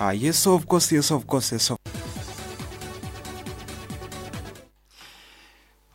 Ah, yes of course, yes of course, yes of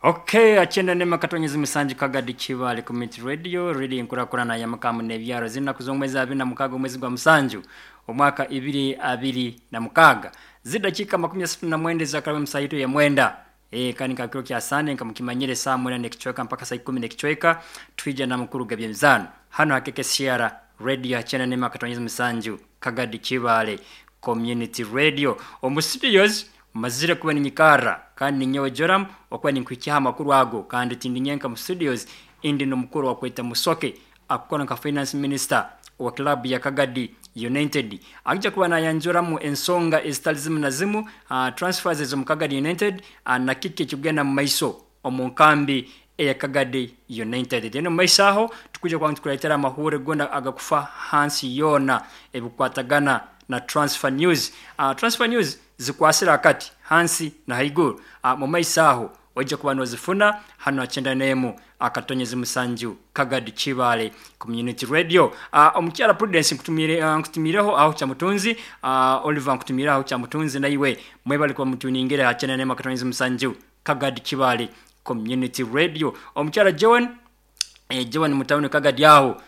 Okay, akyenda nema katonyezi musanju Kagadi Kibaale Community Radio, radio enkurakurana y'amakamu n'ebyaro. Zinaku z'omwezi 26 omwezi gwa musanju omwaka 2026. Zidakika 39 zakaraba musaito ya mwenda. Kandi nka kiro kya Sande nka mukimanyire saa 9 n'ekicweka mpaka saa 10 n'ekicweka twija na mukuru g'ebyemizaano. Hano hakeke Sierra Radio akyenda nema katonyezi musanju Kagadi Kibaale Community Radio. Omu studios mazire kuba ninyikara kandi ninyowe Joram okuba ninkuhikyaho amakuru ago, kandi tindi nyenka mu studios, indi n'omukuru wakweta Musoke akukora nka finance minister wa club ya Kagadi United. Akija kuba nayanjuramu ensonga ezitali zimu na zimu, transfers ez'omu Kagadi United, na kiki ekikugenda mu maiso omu nkambi eya Kagadi United. Then omu maiso aho tukwija kuba nitukuleetera amahuure gona agakufa hansi yoona ebikukwatagana na transfer news. Transfer news zikwasire akati hansi na haiguru. Mu maiso aho oija kuba nozifuna hanu ha 91 akatonyezi musanju Kagadi Kibaale Community Radio. Omukyara Prudence nkutumiireho aho Kyamutunzi, Oliver nkutumiire aho Kyamutunzi, naiwe mwebale kuba mutuningire ha 91 akatonyezi musanju Kagadi Kibaale Community Radio. Omukyara Joan, Joan mutawuni Kagadi aho,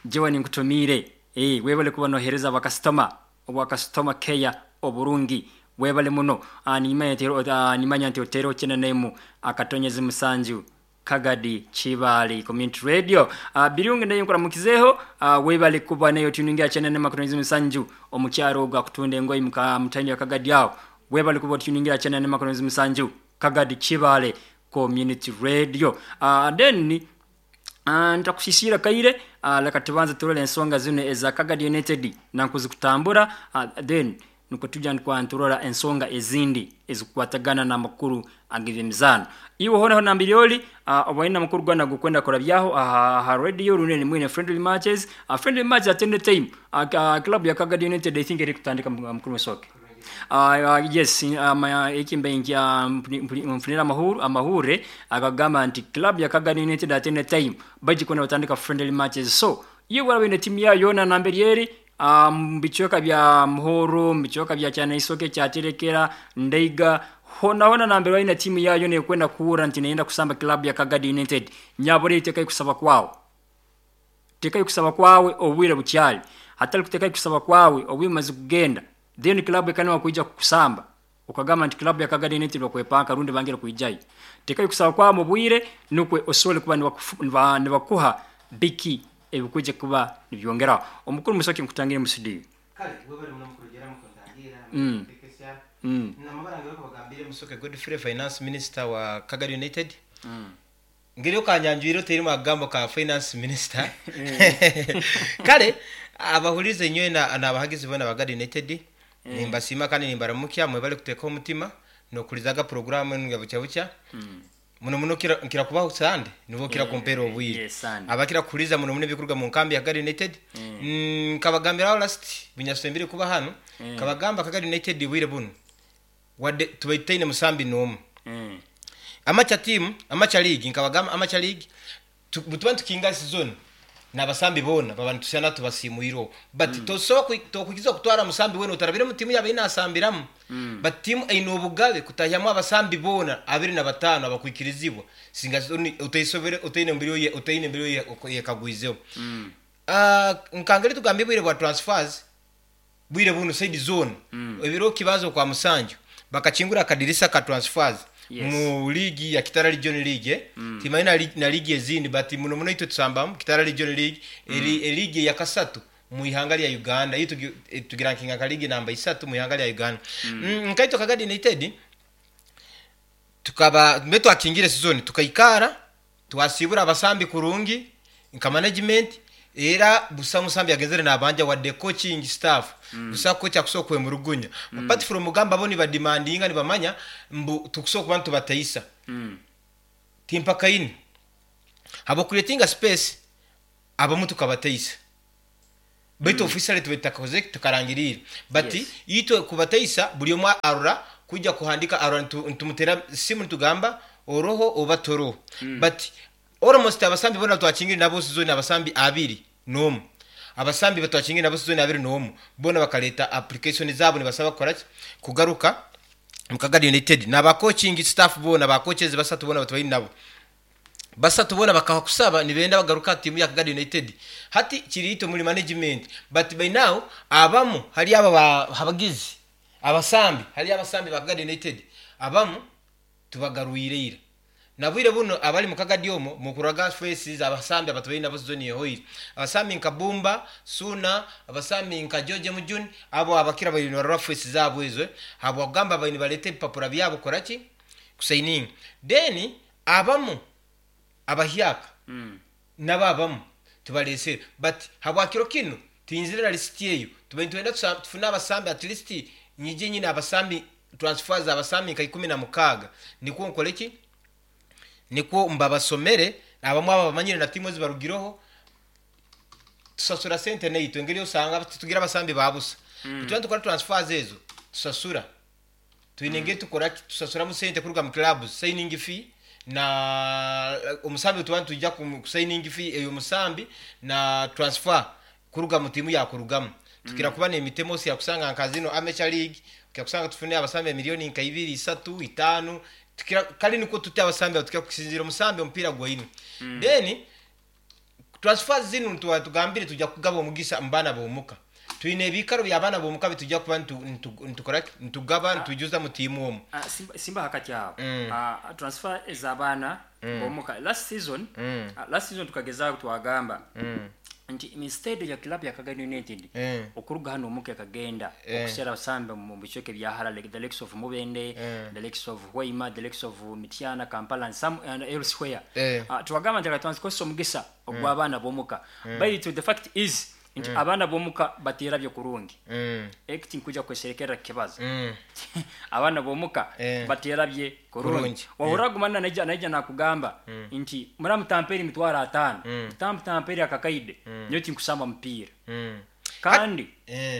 Joan nkutumiire, webale kuba nohereza abakasitoma obwa customer care oburungi, webale muno. Nimanya nti otereho 91 akatonyezi musanju Kagadi Kibaale Community Radio. Birungi nayo nkuramukizeho, webale kuba nayo tuningira 91 akatonyezi musanju omukyaro ogwo akutunda engoyi mutawuni ya Kagadi aho, webale kuba otuningira 91 akatonyezi musanju Kagadi Kibaale Community Radio. Then ntakusisiira kaire, leka tubanze turole ensonga zinu eza Kagadi United nankuzikutambura, then nukwo tujya nturora ensonga ezindi ezikukwatagana n'amakuru ag'ebyemizaano. Iwe hoona nambiri oli, oba oine amakuru gona agokwenda kurabyaho aha radio runene mwine friendly matches, friendly matches at any time. Club ya Kagadi United I think eri kutandika mukuru Musoke. Yes, eki mbaire nfunire amahure agagamba nti club ya Kagadi United at any time baija kuba nibatandika friendly matches. So iwe oraba oine timu yawe yoona namberi eri, mu bicweka bya Muhoro, mu bicweka bya Kyanaisoke, Kyaterekera, Ndeiga, hona hona nambere oine timu yawe yoona ekwenda kuhurra nti neyenda kusamba club ya Kagadi United, nyabura tekayo kusaba kwawe. Tekayo kusaba kwawe obwire bukyali. Hatali kutekayo kusaba kwawe obwire bumaze kugenda, then club ekanema kwija kukusamba. Okagamba nti club ya Kagadi United bakwepanka rundi bangire kwijayo. Tekayo kusaba kwawe mu bwire nukwe osobole kuba nibakuha biki ebikwija kuba nibyongeraho. Omukuru Musoke nkutangire mu studio. Kale webale muno mukuru Jeramu kuntangira ntekesya. Namabara ngewe kubagambire Musoke Godfrey finance minister wa Kagadi United. Ngeri okanyanjwire oteiremu akagambo ka finance minister. Kale abahurize nyowe n'abahagizi boona ba Kagadi United nimbasiima kandi nimbaramukya mwebale kuteekaho omutima n'okuhurizaga puroguraamu enu ya bukya bukya. Muno muno nkira kubaho Sande nibwo okira kumpeera obwire. Abakira kuhuriza muno muno ebikuruga mu nkambi ya Kagadi United. Nkabagambiraho last bunyasembire kuba hanu, nkabagamba Kagadi United bwire bunu wadde tubaire tutaine musambi n'omwe. Amateur team, amateur league, nkabagamba amateur league butuba nitukinga season n'abasambi boona baba nitusyana tubasiimwireho. But tosobola tokwikiriza kutwara musambi weena otarabire omu tiimu yaaba ei naasambiramu. But tiimu eine obugabe kutahyamu abasambi boona 25 abakwikirizibwa singa oteisobere otaine mbiri otaine mbiri oyekagwizeho. Nkangeri tugambye obwire bwa transfers bwire bunu side zoona ebiro kibanza okwa musanju bakakingura akadirisa ka transfers mu league ya Kitara Region League. Timanyi na league ezindi but muno muno itwe tusambamu Kitara Region League eri league ya kasatu mu ihanga lya Uganda. Itwe tugirankinga nka league namba 3 mu ihanga lya Uganda. Nkaitwe Kagadi United tukaba mbe twakingire season tukaikara twasibura abasambi kurungi nka management era busa musambi agenzere nabanja wadde coaching staff busa coach akusobola kwemurugunya. Apart from mugamba bo nibademandinga nibamanya mbu tukusobola kuba nitubateisa. Timpakaini abo creating space abamu tukabateisa baitu officially tubetakakoze tukarangirira but itwe kubateisa buri omwe arora kujja kuhandika arora ntumutera simu ntugamba oroho oba toroho. But almost abasambi bona twakingire nabo season abasambi 21. Abasambi batwakingire nabo sizoni 21 boona bakaleta application zabo nibasaba kukoraki kugaruka mu Kagadi United naba coaching staff boona ba coaches basatu boona batubaire nabo. Basatu boona bakaha kusaba nibenda bagaruke aha tiimu ya Kagadi United. Hati kiri itwe omuri management but by now abamu hariyo aba abagizi abasambi hariyo abasambi ba Kagadi United abamu tubagarwire ira. Na bwire bunu abari mu Kagadi omwo mukuraga faces abasambi abatubaire nabo sizoni ehoire. Abasambi nka Bumba, Suuna, abasambi nka George Mujuni abo abakira babaire nibarora faces zabo ezo ahabwakugamba babaire nibareta ebipapura byabo kukoraki? Kusayininga. Then abamu abahyaka nabo abamu tubaresire but habwa kiro kinu tuyinzire na lisiti eyo tubaire nitwenda tufune abasambi at least nyije nyine abasambi transfers abasambi nka 16 nikwo nkore ki nikwo mbabasomere abamu abo abamanyire na timu ezibarugireho tusasura sente naitwe engeri osanga titugira abasambi ba busa mm. Tuba nitukora transfers ezo tusasura Twine engeri tukora ki tusasuramu sente kuruga mu clubs, signing fee na omusambi otuba nitwija ku signing fee ey'omusambi na transfer kuruga mu tiimu yakurugamu. Tukira kuba n'emitemo okira kusanga nka zino amateur league okira kusanga tufune abasambi emilioni nka ibiri, isatu, itaano tukira kare nikwo tuti abasambi abo tukira kusinziira omusambi omupiira gwaine. Then Transfers zinu nituba tugambire tugya kugaba omugisa omu baana b'omuka. Twine ebiikaro by'abaana b'omuka bitugya kuba nitukora ki? Nitugaba nitwijuza mu tiimu omu. Simba hakati aho transfer ez'abaana b'omuka last season last season tukagezaaho twagamba nti instead ya club ya Kagadi United okuruga hanu omuka ekagenda okuseera abasambi omu bicweka ebya hara like the likes of Mubende, the likes of Hoima, the likes of Mityana, Kampala and some and elsewhere. Twagamba nti reka tubanze tukozese omugisa ogw'abaana b'omuka. Baitu the fact is nti abaana b'omuka bateerabye kurungi. Eki tinkwija kweserekerra kukibaza. Abaana b'omuka bateerabye kurungi. Wahurra guma naija naija nakugamba nti muramutampeere emitwaro ataano, mutamutampeere akakaide, nyowe tinkusamba mupiira. Kandi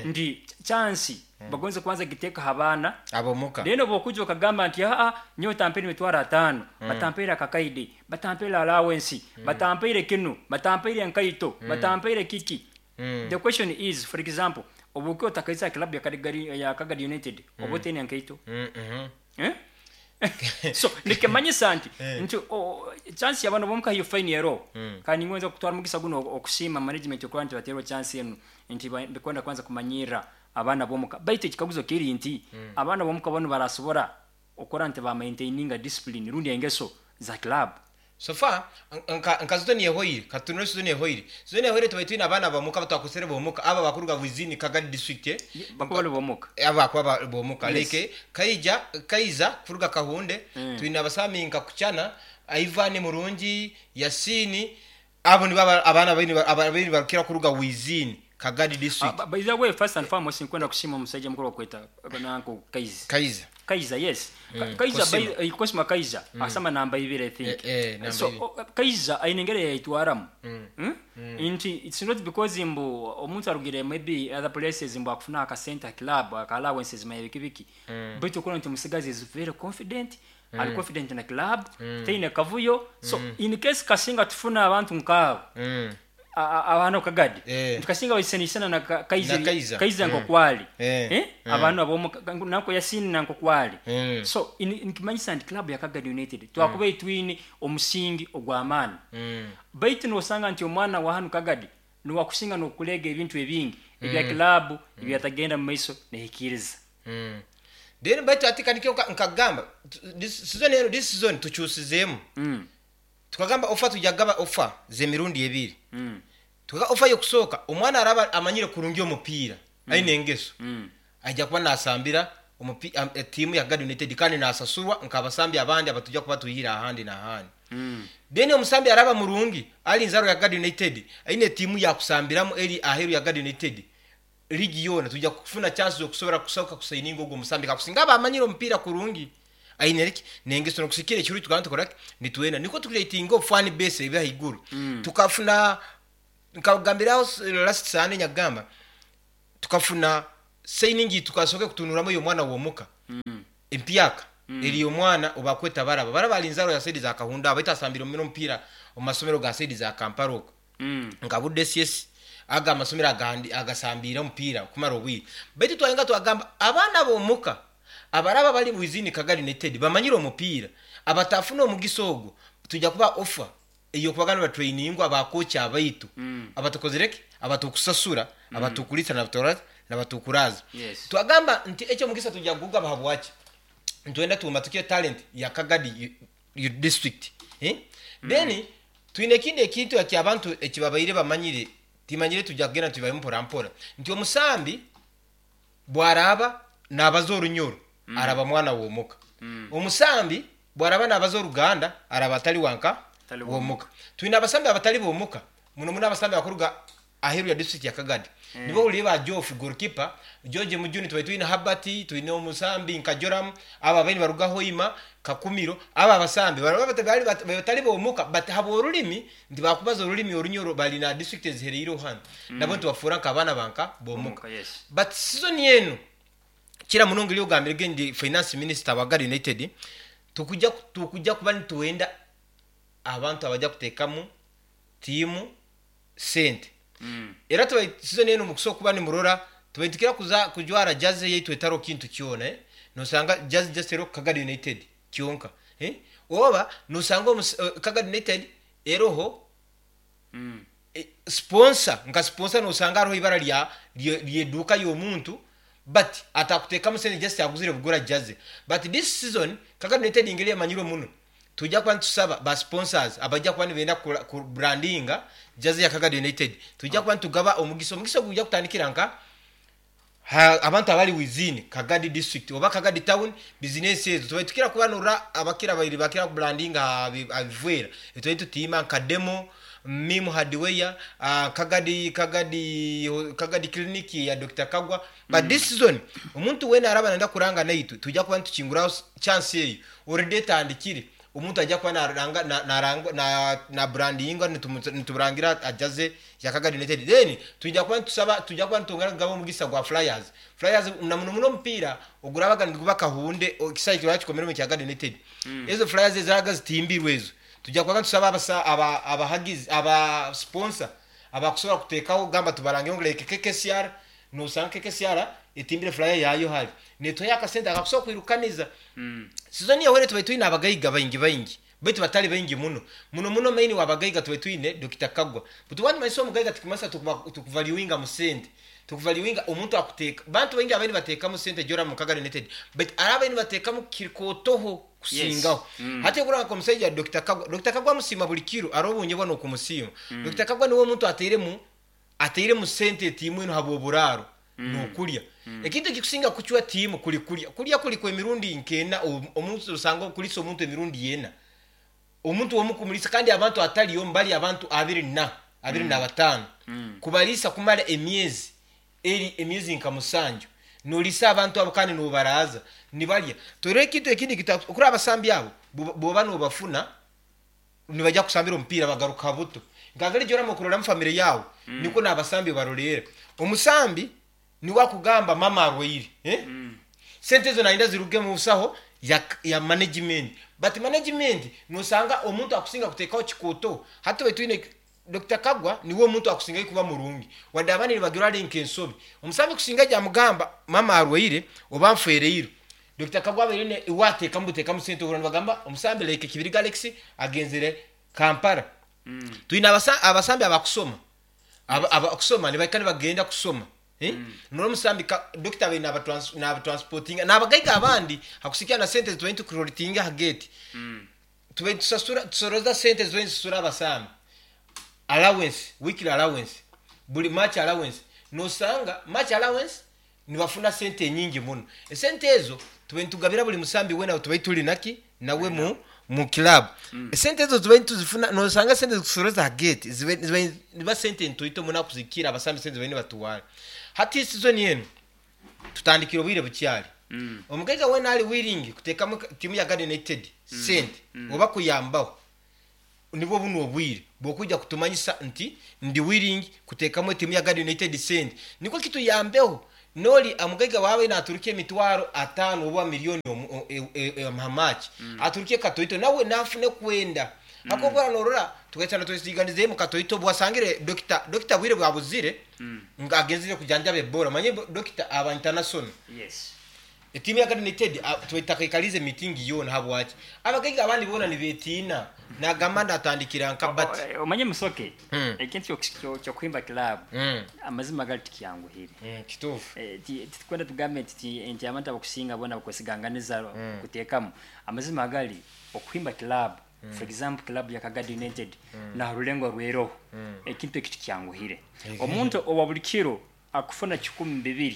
nti chance bagonze kubanza kugiteeka ha baana. Ab'omuka. Then obu okwija okagamba nti haa nyowe tampaire emitwaro ataano, batampaire akakaide, batampaire allowance, batampaire kinu, batampaire enkaito, batampaire kiki. The question is, for example, obu okuba otakaizire aha club ya Kagadi United, oba otaine nkaito? Eh? So nikimanyisa nti nti chance y'abaana b'omuka hiyo fine eroho. Kandi ningonza kutwara omugisa gunu okusiima management okuba nti bateirwe chance enu nti bikwenda kubanza kumanyirra abaana b'omuka. Baitu ekikaguzo kiri nti abaana b'omuka banu barasobora okora nti ba maintaininga discipline rundi engeso za club? So far nka nka zone ehoire katutunure zone ehoire zone ehoire tubaire twine abaana bomuka abatwakozesere bomuka abo abakuruga within Kagadi district Bakuba bari bomuka. abo bakuba bari bomuka Yes. like Kaija Kaiza kuruga Kahunde twine abasami nka Kuchana Ivan Murungi Yasin abo nibo abaana ababaire nibarukira kuruga within Kagadi district. By the way first and foremost nkwenda kusiima omusaija mukuru okweta nanka Kaiza. Kaiza. Kaiza yes. Kaiza Kosima. by Kosima Kaiza asama namba ibiri I think. Namba So ibiri. Kaiza aine engeri eyayetwaramu. Nti it's not because mbu omuntu arugire maybe other places mbu akufuna akasente ha club aka allowances manya biki biki. Baitu okurora nti omusigazi is very confident. Ari confident na club, taine kavuyo. So in case kasinga tufuna abantu nkaabo abantu Kagadi Eh. nti kasinga baisanisana na Na Kaiza. Kaiza nkokwali Eh. Abantu abomu nanko Yasini nankokwali. So nikimanyisa nti club ya Kagadi United twakuba etwine omusingi ogw'amaani. Baitu nosanga nti omwana wa hanu Kagadi niwakusinga n'okulega ebintu ebingi ebya club ebyatagenda mu maiso nehikiriza. Then baitu hati kanikyo nkagamba this season eno this season tukyusizeemu. Tukagamba ofa tujja kugaba ofa z'emirundi ebiri. Tukaga ofa y'okusooka omwana araba amanyire kurungi omupiira aine engeso aija kuba nasambira tiimu ya Kagadi United kandi nasasurwa nk'abasambi abandi abatujja kuba twihire ahandi n'ahandi. Then omusambi araba murungi ali nzaro ya Kagadi United aine tiimu yakusambiramu eri aheeru ya Kagadi United ligi yoona tujja kufuna chance z'okusobora kusoka kusayininga ogwo omusambi kakusinga aba amanyire omupiira kurungi aine ki n'engeso n'okusikira ekirungi tukaba nitukora ki nitwenda nikwo tukuretinga fan base ebe ahaiguru. Tukafuna nkagambiraho last Sunday nyakugamba tukafuna signing tukasoke kutunuramu oyo omwana w'omuka empyaka eri omwana obakweta baraba baraba ali nzaro ya saidi za Kahunda baitu asambire omupiira omu masomero ga saidi za Kampala okwo nka Budde CS. Aga amasomero agandi agasambiire omupiira kumara obwire. Baitu twayenga twagamba abaana b'omuka abaraba bari within Kagadi United bamanyire omupiira abatafuna omugisa ogwo twija kuba offer ey'okubaga nibatrainingwa ba coach abaitu abatukozire ki? Abatukusasura, abatukuriisa n'abatukuraaza. Yes. Twagamba nti ekyo omugisa twija kugugaba habwaki? Nitwenda tumatukye talent ya Kagadi district. Then twine ekindi ekintu eki abantu eki babaire bamanyire, timanyire twija kugenda nitubibayo mpora mpora, nti omusambi bwaraaba nabaza Orunyoro araba mwana w'omuka. Omusambi bwaraba nabaza Oruganda araba atari wanka Atari w'omuka. Twine abasambi abatari b'omuka, muno muno abasambi abakuruga aheeru ya district ya Kagadi. Nibo ohuriire ba Geoff goalkeeper, George Mujuni, tubaire twine Herbert, twine omusambi nka Joram, abo ababaire nibaruga Hoima, Kakumiro, abo abasambi baraba bari batari b'omuka but habw'orurimi nti bakubaza orurimi Orunyoro bari na district ezihereireho hanu nabo nitubafuura nk'abaana ba nka b'omuka. B'omuka, yes. But season enu kira munonga eri ogambire ge ndi finance minister wa Gari United, tukujja tukujja kuba nitwenda abantu abaja kuteekamu tiimu sente. Era tubaire season enu mukusobola kuba nimurora tubaire nitukira kuza kujwara jersey yaitu etariho kintu kyona eh, nosanga jersey just eriho Kagadi United kyonka eh, oba nosanga omu Kagadi United eroho sponsor nka sponsor nosanga hariho ibara rya ry'eduuka y'omuntu but atakutekamu sente just aguzire bugura jersey but this season Kagadi United engeri emanyirwe muno Twija kuba nitusaba ba sponsors abaija kuba nibenda ku brandinga jersey ya Kagadi United. Twija kuba nitugaba omugisa. Omugisa ogu gwija kutandikira nka ha abantu abari within Kagadi district oba Kagadi town bizinesi ezo. Tubaire tukira kuba norora abakira abaire bakira ku brandinga aha bivwera. Tubaire nitutiima nka Demo, Mim Hardware, Kagadi Kagadi Kagadi clinic ya Dokita Kagwa. But this season omuntu weena araba nayenda kuranga naitwe twija kuba nitukinguraho chance eyo already etandikire omuntu aija kuba naranga naranga na brandinga nituburangira ajaze ya Kagadi United then twija kuba nitusaba twija kuba nitwongera kugaba omugisa gwa flyers flyers na muno muno omupiira ogurabaga niguba kahunde ekisaayi kiraba kikomeremu ekya Kagadi United ezo flyers ezirabaga zitimbirwe ezo twija kuba nitusaba aba abahagizi aba sponsor abakusobora kuteekaho gamba tubarangire ngu like KKCR Noshanga KKCR etimbire flyer yaayo hari netuhayo akasente akakusobola kwirukaniza. Sizoni eyahweire tubaire twine abagaiga baingi baingi baitu batari baingi muno. Muno muno main w'abagaiga tubaire twine Dokita Kagwa. But waaba nomanyisa omugaiga tikumanyisa tukuvaluinga mu sente. Tukuvaluinga omuntu akuteeka. Bantu baingi ababaire nibateekamu sente Joram Mukaga United baitu hariho ababaire nibateekamu kirikootoho kusingaho. Hati okurora nk'omusaija Dokita Kagwa, Dokita Kagwa musiima buri kiro hariho obu nyebwa n'okumusiima. Dokita Kagwa niwe omuntu ateiremu Atairemu sente etiimu enu habw'oburaaro n'okulya. Ekintu ekikusinga kucwa tiimu kuli kulya. Kulya kuli kw'emirundi nk'ena omuntu osanga okulisa omuntu emirundi ena. Omuntu omu kumulisa kandi abantu atali omu bali abantu abiri na, abiri n'abataano. Kubaliisa kumara emyezi eri emyezi nka musanju. Noliisa abantu abo kandi nobaraaza nibalya. Torora ekintu ekindi okurora abasambi abo bwoba nobafuna Nibaija kusambira omupiira bagaruka buto. Nka ngeri gyorama okuroramu famire yaawe, nikwo n'abasambi obaroreera. Omusambi niwe akugamba mama arwaire, eh? Sente ezo nayenda ziruge mu nsaho ya, ya management. But management nosanga omuntu akusinga kuteekaho kikooto. Hati twaba twine Dokita Kagwa niwe omuntu akusingayo kuba murungi. Wadde abandi nibagira ari nk'ensobi. Omusambi kusinga gyamugamba mama arwaire oba nfwereirwe. Dokita Kagwa abaire ne iwe ateekamu buteekamu sente ohurira nibagamba omusambi like Kibirige Alex agenzire Kampala. Twine abasa abasambi abakusoma aba abakusoma nibahika nibagenda kusoma eh? Norora omusambi ka dokita abaire naba trans naba transportinga nabagaiga abandi hakusiikira na sente ezitubaire nitukurotinga aha gate. Tubaire nitusasura tusoroza sente ezitubaire nitusasura abasambi allowance weekly allowance buri match allowance nosanga match allowance Nibafuna sente nyingi muno. Esente ezo tubaire nitugabira buri musambi weena ou tubaire turi naki nawe mu mu club. Esente ezo tubaire nituzifuna noshanga esente ezikushoroza aha gate zibaire zibaire niba sente ntoito muno kuzikira abasambi sente zibaire nibatwara. Hati season enu tutandikire obwire bukyari. Omugaiga weena ari willing kuteekamu tiimu ya Gad United sente oba kuyambaho Nibwo bunu obwire bw'okwija kutumanyisa nti ndi willing kuteekamu etiimu ya Gad United sente nikwo kituyambeho. N'ori omugaiga waawe naaturuka emitwaro ataano oba milioni omu aha match, aturuke katoito nawe naafune kwenda. Ahabw'okuba noorora tugaikara twesiiganizeemu katoito obu wasangire dokita, dokita bwire bwabuzire ngu agenzire kujanjaba Ebola. Omanye dokita aba international. Yes. Etiimu ya Uganda United twetakaikariize miitingi yoona. Habwaki? Abagaiga abandi boona nibeetiina. Naagamba ndatandikira nka bati. Omanye Musoke, ekintu ky'okuhimba club, amazima gari tikyanguhire. Kituufu. Titukwenda tugambe nti abantu abakusinga boona bakwesiganganiza kuteekamu. Amazima gari, okuhimba club, for example club ya Kagadi United naha rurengo rw'eroho, ekintu eki tikyanguhire. Omuntu owa buri kiro akufuna 2000,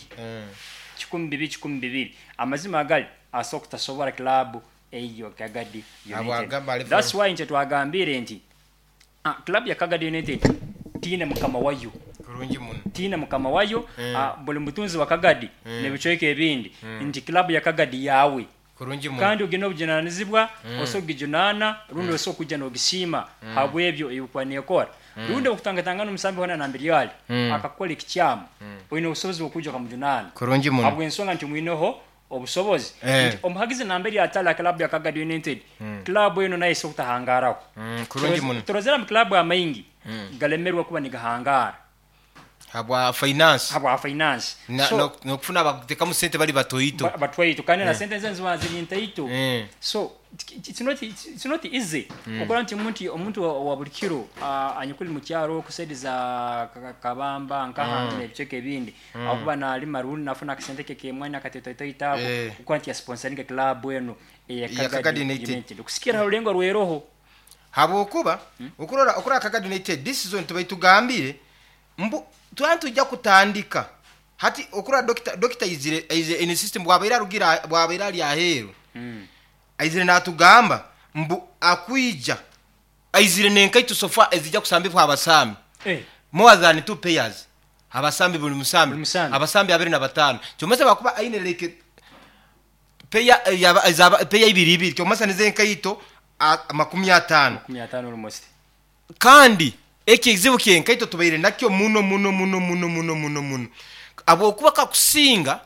2000, 2000, amazima agari asobola kutasobora club eyo Kagadi United. That's why nikyo twagambire nti club ya Kagadi United tiine mukama wayo. Kurungi muno. Tiine mukama wayo, buri mutunzi wa Kagadi n'ebicweka ebindi nti club ya Kagadi yaawe. Kurungi muno. Kandi ogi n'obujunanizibwa, osobola kugijunana rundi osobola kwija n'ogisiima habw'ebyo ebi ekuba neekora. Rundi obu okutangatangana omusambi hoona nambere ari akakukora ekikyamu, oine obusobozi bw'okwija okamujunaana Kurungi muno. habw'ensonga nti omwineho obusobozi. Nti omuhagizi nambere atari aha club ya Kagadi United, club enu nayo esobola kutahangaaraho. Kurungi muno. Turozere ama club amaingi galemerwe kuba nigahangaara. Habwa finance. Habwa finance. Na, So, no, nokufuna abakutekamu sente bari batoito. Batwaito kandi na sente ezo niziba ziri ntaito. So it's not, it's not easy okora nti omuntu, omuntu wa buri kiro anyakuri mu kyaro ku side za Kabamba nkaha n'ebicweka ebindi akuba nalima rundi nafuna akasente ke kemwani akatoitoito ako okora nti ya sponsoringa club enu eya Ya Kagadi Kagadi United. United kusikira ha rurengo rw'eroho. Habwokuba okurora okurora Kagadi United this season tubaire tugambire Mbu twaba nitwija kutandika hati okurora dokita, dokita aizire, aizire in system bwabaire arugire, bwabaire ari aheeru, aizire natugamba mbu akwija, aizire n'enkaito so far ezija kusambibwa abasambi, more than two pairs, abasambi buri musambi, abasambi abiri na bataano, kyomesa bwakuba aine like peya ezaba, peya ibiri ibiri, kyomesa nizo enkaito 50. Kandi ekizibu ky'enkaito tubaire nakyo muno muno muno muno muno muno muno habwokuba kakusinga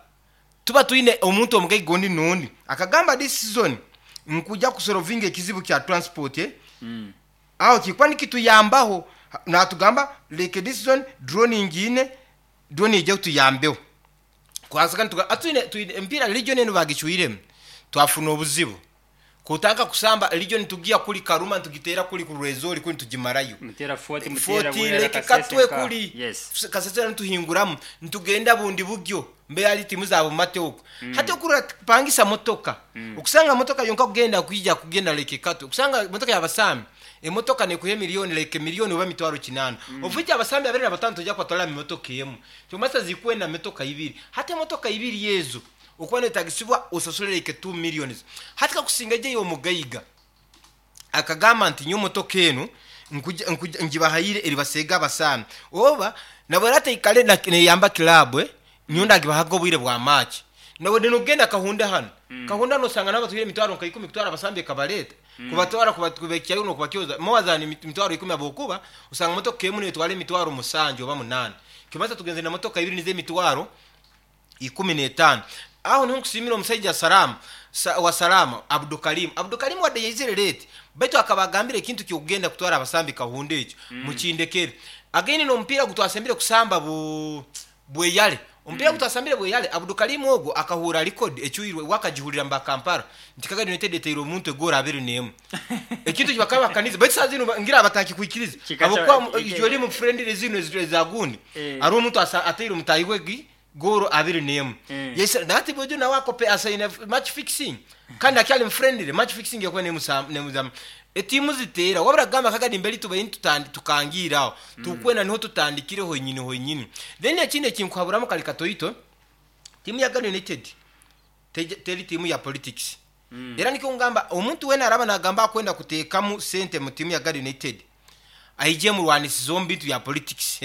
tuba twine omuntu omugaiga ondi n'ondi akagamba this season nkuja kusolovinga ekizibu kya transport aho kikuba nikituyambaho natugamba like this season drone ngiine drone eije etuyambeho. Kwasika nituga twine emipiira region enu bagicwiremu twafuna obuzibu. Kutandika kusamba region nitugiha kuri Karuma nitugiteera kuri ku Rwenzori kuri nitugimarayo. Muteera Fort, muteera Fort Bwera, Lake Kasese Katwe nka. kuri Yes. Kasese hoona nituhinguramu nitugenda bundi buryo mbe hariyo tiimu za Bumate okwo. Hati okurora pangisa motoka okusanga motoka yonka kugenda kwija kugenda Lake Katwe okusanga motoka ya basambi emotoka nekuha emilioni like milioni oba emitwaro kinaana of which abasambi abiri na bataano toija kubatwarira omu motoka emwe kyomasa zikwenda motoka ibiri hati emotoka ibiri ezo Okuba noyetagisibwa osasule like two millions. Hati kakusinga egi ey'omugaiga akagamba nti nyowe motoka enu nkuja nkuja ngibahaire eribaseega abasaani oba nabwo era teikare na neyamba club nyowe ndagibahaga obwire bwa match. Nabwo nogenda Kahunda hanu, Kahunda hanu osanga nabo batwire emitwaro nka ikumi kutwara abasambi ekabareeta kubatwara kubahikyayo nokubakyoza more than emitwaro ikumi habwokuba osanga motoka emu netwara emitwaro musanju oba munaana. Kimanyisa tugenzire na motoka ibiri nizo emitwaro 15. Aho niho nkusiimira omusaija Salama, sa, wa Salama, Abdukarim. Abdukarim wadde yaizire late, baitu akaba agambire ekintu ky'okugenda kutwara abasambi Kahunda ekyo, mukindekere. Again n'omupiira ogu twasembire kusamba bu, Bweyale. Omupiira ogu twasambire Bweyale, Abdukarim ogwo akahuura record ecwirwe, we akagihurira mba Kampala, nti Kagadi United eteire omuntu egoolo abiri n'emwe. Ekintu eki bakaba bakanize, baitu saaha zinu ngira batakikwikiriza. Habw'okuba ijwe rimu friendly zinu eza gundi, hariho omuntu asa, ateire omutaahi we gi, Goolo abiri n'emwe. Yaisira nati Buju nawe akope asaine match fixing kandi akyali mu friendly match fixing ekuba nemuzamu etiimu ziteera wabura kugamba kagadi mberi tubaire nitutandi tukangiire aho tukwenda niho tutandikire honyini honyini then ekindi ekinkuhaburamu kari katoito tiimu ya Ghana United teri tiimu ya politics era nikyo nkugamba omuntu weena araba nagamba akwenda kuteekamu sente mu tiimu ya Ghana United aije emurwanisize omu bintu bya politics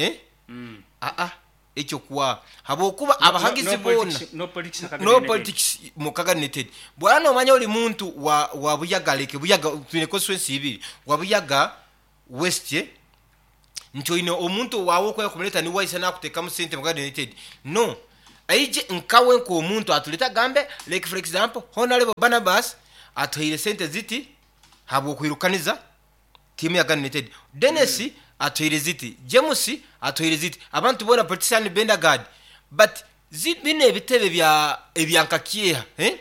aa Ekyo kuwa habwokuba abahagizi boona no politics mu Kaga United. Bwora nomanya ori muntu wa wa Buyaga like Buyaga twine constituency ibiri wa Buyaga West nti oine omuntu wawe okwenda kumureta niwe waisa nakutekamu sente mu Kaga United no aije nkawe nkomuntu aturete agambe like for example Honarebo Barnabas atuhaire sente ziti habwokwirukaniza. Tiimu ya Ghana United. Denis atuhaire ziti, James atuhaire ziti, abantu boona politician Bendergard but zi binu ebitebe bya ebya nka Kieha eh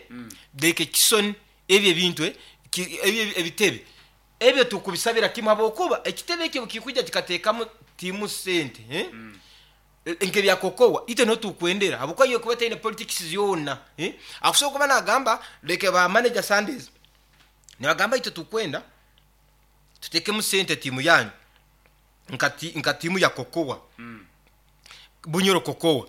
like Kison ebyo ebintu eh ki ebyo ebitebe ebyo tukubisabira kimu habwokuba ekitebe ekyo obukikwija kikateekamu tiimu sente eh nk'ebya Kokowa itwe niho tukwendera habwokuba yo ekuba etaine politics yoona eh akusobola kuba nagamba like ba manager Sundays nibagamba itwe tukwenda tutekemu sente tiimu yanyu nka ti nka tiimu ya Kokowa Bunyoro Kokowa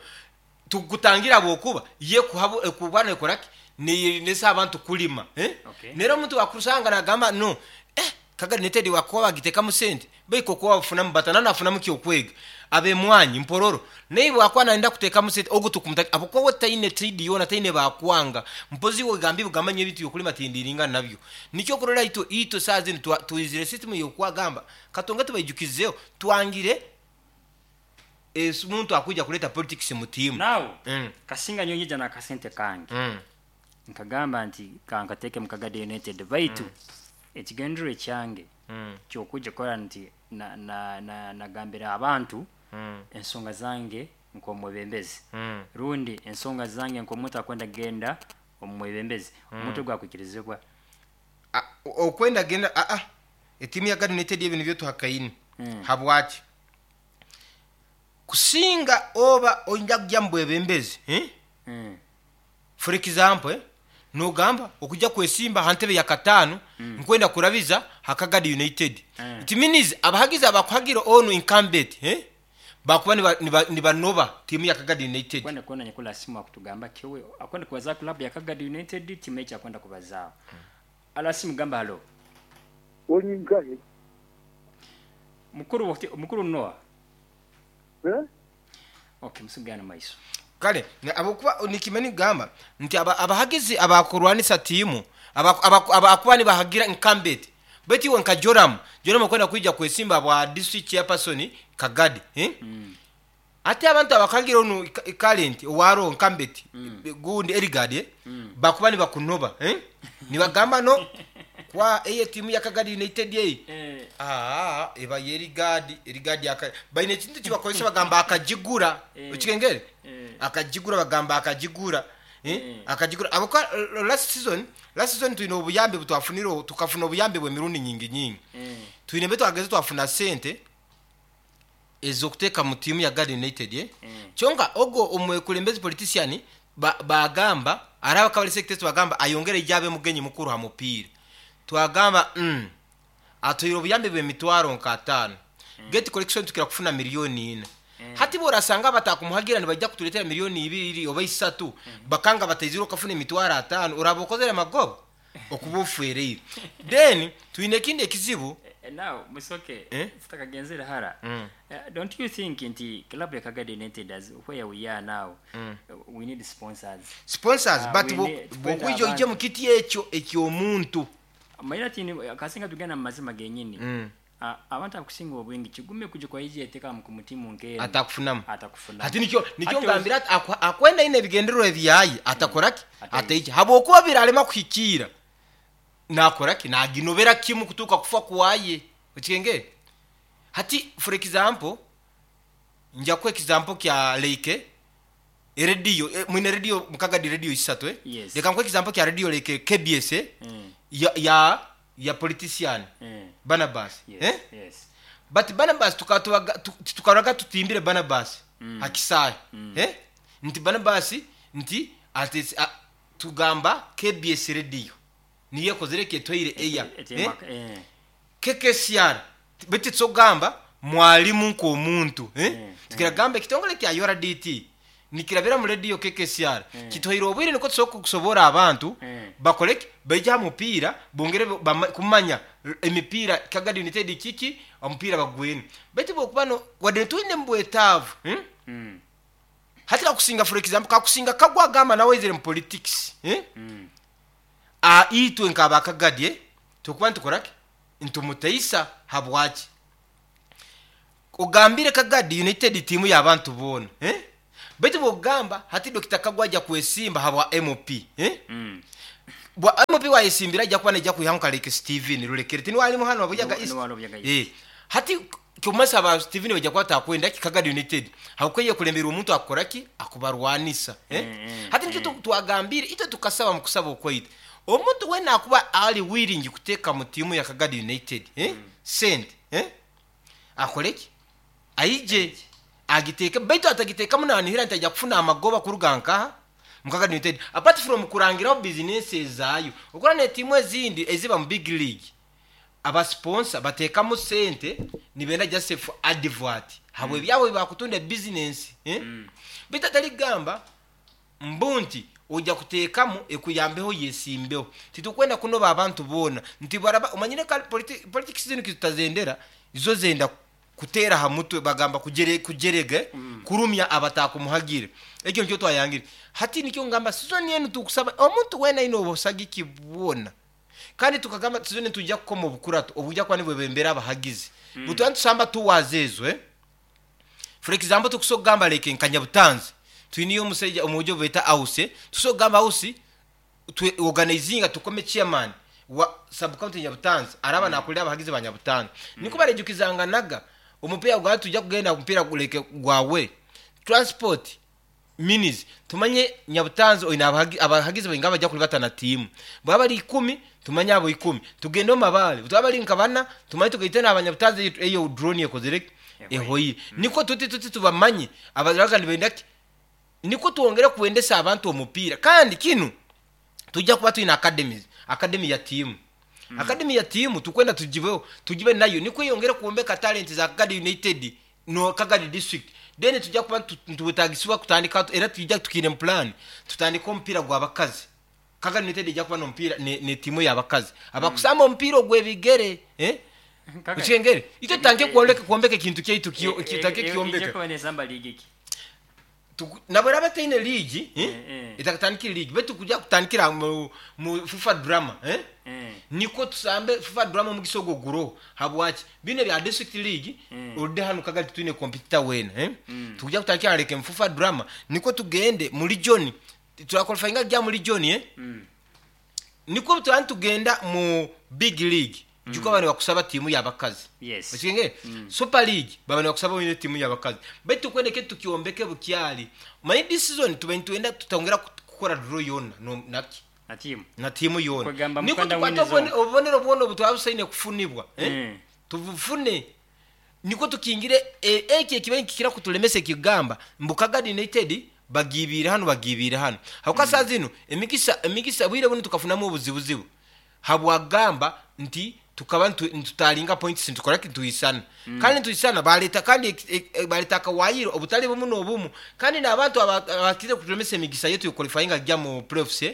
tukutangire ahabwokuba yo ekuha ekuba nekora ki neyerindisa abantu kulima eh Okay. nero omuntu wakusanga nagamba no eh Kagari United wakuba bagitekamu sente beitu Kokowa bafunamu bata na nafunamu ki okwega Ab'emwanyi Mpororo naiwe wakuba nayenda kutekamu sente ogu tukumutaki ahabwokuba we taine trade yoona taine bakwanga mpozi iwe ogamba ebigamba nyowe ebintu byokulima tindiringa nabyo Nikyo okurora itwe itwe saaha zinu twa twizire system y'okwagamba katonga tubaijukizeho twangire esi omuntu akwija kureeta politics mu tiimu. Now kasinga nyowe nyija n'akasente kange nkagamba nti kankateeke mu Kagadi United baitu ekigendererwa ekyange ky'okwija kukora nti na na na nagambira abantu ensonga zange nk'omwebembezi rundi ensonga zange nk'omuntu akwenda kugenda omu mwebembezi omuntu ogu akwikirizibwa. Okwenda genda aa etiimu ya Gad United ebi nibyo tuhakaine. Habwaki? Kusinga oba oija kugya mu bwebembezi eh? For example eh, nogamba okuja kwesimba ha ntebe ya kataano nkwenda kurabiza ha Kagadi United. It means abahagizi abakuhagira onu incumbent eh, bakuba niba niba nibanoba tiimu ya Kagadi United. Kwenda kwona nyakuli asimu akutugamba ki we akwenda kubazaaho club ya Kagadi United tiimu eki akwenda kubazaaho. Alasimu gamba halo. Oli nkahi? Mukuru mukuru Noah. Eh? Ok musigane maiso. Kale ahabw'okuba nikimanya nikugamba nti abahagizi abakurwanisa tiimu abakuba nibahagira incumbent beitu iwe nka Joram, Joram okwenda kwija kwesimba ahabwa district chairperson Kagadi hati abantu abakuhagira onu current owaroho incumbent gundi Eligard bakuba nibakunoba nibagamba no kwa eyi etiimu ya Kagadi United eyi Aa eba y'erigaadi, erigaadi aka baine ekintu eki bakozesa bagamba akagigura, okikengere? Akagigura bagamba akagigura, akagigura ahabw'okuba last season, last season twine obuyambi obu twafunire tukafuna obuyambi bw'emirundi nyingi nyingi. Twine mbwenu twageze twafuna sente ez'okuteeka mu tiimu ya Gad United, kyonka ogwo omwekulembezi, politician, ba bagamba araabe akaba ari secretary twagamba ayongere aije abe mugenyi mukuru ha mupiira. Twagamba umm Atuhaire obuyambi bw'emitwaro nka ataano. Gate collection tukira kufuna milioni ina. Hati bworasanga abatakumuhagira nibaija kuturetera milioni ibiri oba isatu bakanga bataizire okafuna emitwaro ataano oraba okozire amagoba? Okuba ofwereire. Then twine ekindi ekizibu. Now Musoke tutakagenzere hara, don't you think nti club ya Kagadi United as where we are now we need sponsors. Sponsors but bwokwija oije mukiti ekyo ekyomuntu. Omanyire ati kasinga tugenda mu mazima genyini, abantu abakusinga obwingi kigume kuja kwaija eteka mu tiimu nk'enu Atakufunamu. atakufunamu. Hati nikyo nikyo Hati ngambire ati akwenda aine ebigendererwa ebyaye atakora ki? Ataija. Habwokuba birarema kuhikiira nakora ki? Naginobera kimu kutuuka kufa kwaye. Okikengere? Hati for example, nja kuha example kya like Erediyo, mwine rediyo mukagadi rediyo isatu eh? Yes. Leka nkuhe example kya rediyo like KBS eh? Ya ya ya politician Barnabas Yes. eh? Yes. But Barnabas tukaba titukaroraga tutimbire Barnabas ha kisaahe eh? Nti Barnabas nti ati a, tugamba KBS rediyo niyo ekozire ki etwaire air eh? KKCR beitu titwokugamba mwalimu nk'omuntu eh? Tukiragamba ekitongore kya URDT nikirabira omu rediyo KKCR kituhaire obwire nikwo tusobole kusoboora abantu bakore ki? Baije aha mupiira bongere kumanya emipiira Kagadi United kiki omupiira bagwine. Beitu bwokuba no wadde twine omu bwetaavu hati kakusinga for example kakusinga Kagwa agamba nawe aizire omu politics Itwe nk'aba Kagadi turikuba nitukora ki? Nitumutaisa. Habwaki? Ogambire Kagadi United tiimu y'abantu boona. Beitu bw'okugamba hati Dokita Kagwa aija kwesimba habwa MP. Bwa MP wayesimbira aija kuba naija kwihaho nka like Steven Rurekere tiniwe arimu hanu wa Buyaga East? Niwe ari Buyaga East. Eh, hati kyomasa ba Steven baija kuba batakwenda ki Kagadi United habwokuba eyekuremberwa omuntu akukora ki? Akubarwanisa. Eh? Hati nikyo twagambire itwe tukasaba mu kusaba okwaitu omuntu wena akuba ari willing kuteeka mu tiimu ya Kagadi United eh? Sente eh? Akore ki? Aije agiteeke baitu atagiteekamu nanihira nti aija kufuna amagoba kuruga nkaha? Mu Kagadi United apart from kurangiraho bizinesi ezaayo. Okora n'etiimu ezindi eziba mu big league aba sponsor bateekamu sente nibenda just for advert habw'ebyabo ebi bakutunda ebizinesi eh? Baitu atari kugamba mbu nti oija kuteekamu ekuyambeho oyesimbeho. Titukwenda kunoba abantu boona nti baraba omanyire kare politics zinu kitutazendera izo zenda kuteera aha mutwe bagamba kugyerega kurumya abatakumuhagire. Ekyo nikyo twayangire. Hati nikyo ngamba sizoni enu tukusaba omuntu weena aine obusagiki bwona kandi tukagamba sizoni enu nitwija kukoma obukurato obwija kuba nibwebembera abahagizi. Butwaba nitusamba tours ezo eh. For example tukusobola kugamba like nka Nyabutanzi twineyo omusaija omwojo obu beeta Ausi eh, tukusobola kugamba Ausi twe organizinga tukome chairman wa sub county Nyabutanzi araba nakurira abahagizi ba Nyabutanzi. Nikwo barejukizanganaga omupiira gwaba nitwija kugenda omupiira like gwa away transport minis tumanye Nyabutanzi oine abahagizi baingahi abaija kuribata na tiimu. Baba bari ikumi tumanye abo ikumi tugende omu Mabaare butwaba bari nka bana tumanye tugaite n'aba Nyabutanzi eyo drone ekozire ki? Ehoire. Nikwo tuti tuti tubamanye abaraga nibenda ki? Nikwo twongere kwendesa abantu omupiira kandi kinu twija kuba twine academies, academy ya tiimu. Academy ya tiimu tukwenda tugibeho, tugibe nayo nikwo eyongere kwombeka talent za Kagadi United no Kagadi district. Then nitwija kuba nitwetagisibwa kutandika era twija tukiine mu plan tutandike omupiira gw'abakazi. Kagadi United eija kuba n'omupiira ne tiimu ey'abakazi abakusamba omupiira ogw'ebigere. Eh? Okigengere? Itwe tutandike kwombeka ekintu kyaitu tutandike Eija kukyombeka. kuba nesamba liigi ki? Nabwo eraba etaine liigi, Eh, eh. etakatandikire liigi, beitu kuja kutandikira mu FUFA Drama, eh? Nikwo tusambe FUFA Drama omugisa ogwo guroho. Habwaki? Binu ebya district league, ode hanu Kagari titwine competitor weena, eh? Tukuja kutandikira like mu FUFA Drama, nikwo tugende mu region, turaqualifyinga kugya mu region, eh? Nikwo turaba nitugenda mu big league, juka baba nibakusaba tiimu y'abakazi. Yes. Okigengere? Super League baba nibakusaba oine tiimu y'abakazi. Beitu tukwenda eke tukyombeke bukyari. Omanyire this season tube nitwenda tutongera kukora draw yoona no naki? Na tiimu. Na tiimu yoona. Kwegamba Nikwo mukwenda tukwate win zone. obubonero bwona obu twabusaine kufunibwa, eh? Tubufune. Nikwo tukingire eki ekibaire nikikira kutulemesa ekigamba mbu Kagadi United bagiibiire hanu bagiibiire hanu. Habwokuba saaha zinu emigisa emigisa bwire bunu tukafunamu obuzibuzibu habwagamba nti tukaba nitutaringa points nitukora ki nituhisana. Kandi nituhisana bareta kandi bareta akawaayiro obutari bumu n'obumu kandi n'abantu abakizire kutulemesa emigisa yaitu y'okuqualifyinga kugya mu playoffs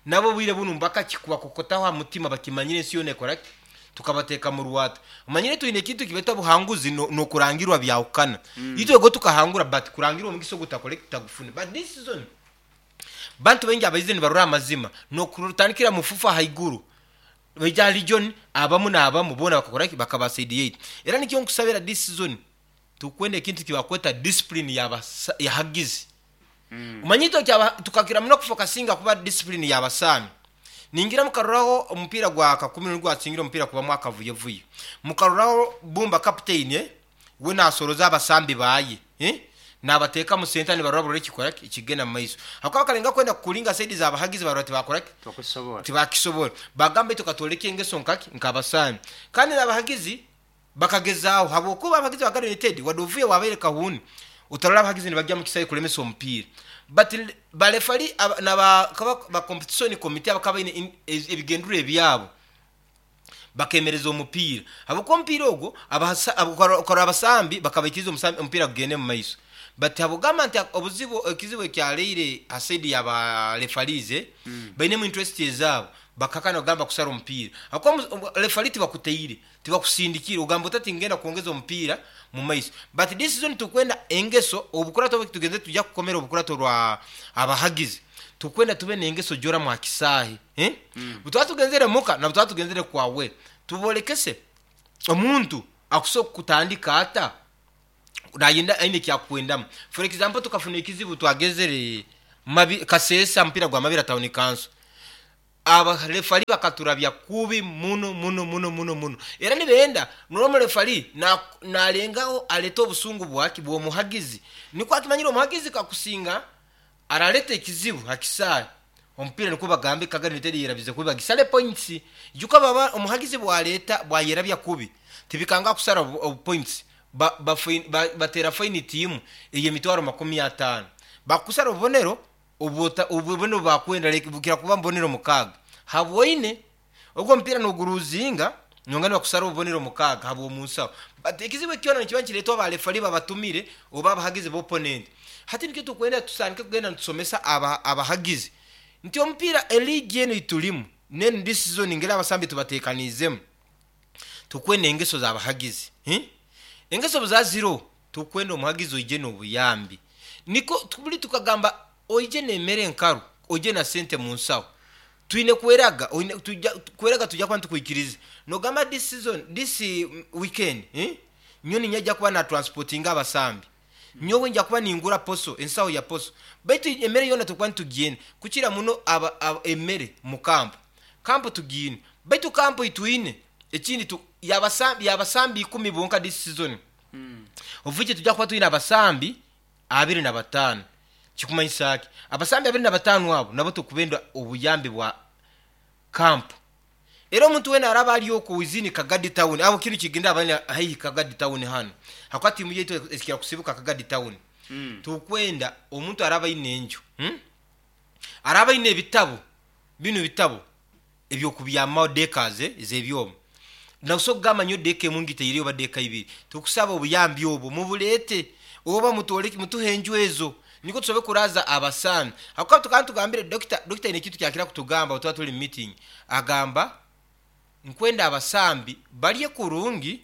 nabo obwire bunu bakakikubakokotaho aha mutima bakimanyire ensi yoona ekora ki tukabateeka mu rwata. Omanyire twine ekintu eki beeta obuhanguzi n'okurangirwa byahukana. Itwe go tukahangura but kurangirwa omugisa ogu tutakore ki tutagufune. But this season bantu baingi abaizire nibarora amazima n'okutandikira mu FUFA ahaiguru baija aha region abamu n'abamu boona bakakora ki bakaba side yaitu. Era nikyo nkusabira this season tukwenda ekintu eki bakweta discipline y'abahagizi. Omanyire itwe tukakira muno kufokasinga kuba discipline y'abasaani. Ningira mukaroraho omupiira gwa Kakumiro nigwo gwasingire omupiira kubamu akavuyovuyo. Mukaroraho Bumba captain eh, we nasoroza abasambi baye eh, nabateeka mu center nibarora burora ekikora ki ekigenda mu maiso. Habwokuba bakalenga kwenda kukulinga side z'abahagizi barora tibakora ki? Tibakukisobora. Tibakisobora. Bagamba itwe katworeke engeso nkaki nk'abasaani. Kandi n'abahagizi bakagezaaho habwokuba abahagizi ba Garo United wadde ovuye wabaire kahuni otarora abahagizi nibagya mu kisaayi kulemesa omupiira. But ba referee na ba competition committee abakaba baine ebigendererwa ebyabo bakemereza omupiira. Habwokuba omupiira ogwo okarora abasambi bakabaikiriza omupiira gugende mu maiso. But habwogamba nti obuzibu ekizibu ekyareire ha side ya ba referees bainemu interest ezaabo bakakana kugamba kusara omupiira. Habwokuba referee tibakuteire, tibakusindikire ogamba ota tingenda kwongeza omupiira mu maiso. But this season tukwenda engeso obukurato obu tugenze tujya kukomera obukurato rwa abahagizi. Tukwenda tube n'engeso jora mu kisaahi. Eh? Butwaba tugenzere muka na butwaba tugenzere kwawe. Tubolekese omuntu akusobola kutandika ata nayenda aine ekyakwendamu. For example tukafuna ekizibu twagezere mabi Kasesa mpira gwa Mabira Town Council. Abarefari bakaturabya kubi muno muno muno muno muno. Era nibenda norora omurefari narengaho areta obusungu bwaki bw'omuhagizi. Nikwo akimanyire omuhagizi kakusinga arareta ekizibu ha kisaayi. Omupiira nikwo bagambe Kagadi United eyerabize kubi bagisare points. Ijuka baba omuhagizi bwareta bwayerabya kubi tibikanga kusara obu points ba batera faini tiimu ey'emitwaro 50. Bakusara obubonero Obubonero obu baakwenda like bukira kuba mubonero mukaaga habwoine ogwo omupiira noguruzinga nonga nibakusara obubonero mukaaga habw'omunsaho but ekizibu eki kyona nikiba nikireetwa ba refari babatumire oba abahagizi b'opponent. Hati nikyo tukwenda tutandike kugenda nitusomesa abahagizi nti omupiira eliigi enu eiturimu n'enu this season ngeri abasambi tubateekaniizemu tukwenda engeso z'abahagizi. Engeso obu zaaza ziroho Tukwenda omuhagizi oije n'obuyambi. Nikwo buri tukagamba oije n'emere enkaru, oije na sente mu nsaho. Twine kweraga, oine twija kweraga twija kuba nitukwikiriza. Nogamba this season, this weekend, nyowe niinyija kuba na transportinga abasambi. Nyowe nja kuba ningura poso, ensaho ya poso. Baitu emere yoona turikuba nitugiine kukira muno aba aba emere mu kampu. Kampu tugiine. Baitu kampu ei twine, ekindi tu y'abasambi y'abasambi ikumi bonka this season. Obuvugi tujja kuba twine abasambi 25. Kikumanyisa ki? Abasambi 25 abo nabo tukubenda obuyambi bwa kampu. Era omuntu wena araba ari okwo within Kagadi town, aho kinu kigenda abali haihi Kagadi town hanu, hakuba tiimu yaitu ekira kusibuka Kagadi town. Tukwenda omuntu araba aine enju, araba aine ebitabo, binu ebitabo eby'okubyamaho deckers ez'ebyoma. Nosobola kugamba nyowe decker emu ngitaireyo oba decker ibiri. Tukusaba obuyambi obwo mubureete oba mutworeke mutuhe enju ezo nikwo tusobole kuraaza abasaani. Ahakuba tukaba nitugambire dokita, dokita aine ekintu kyakira kutugamba obu tuba turi mu meeting, agamba nkwenda abasambi barye kurungi,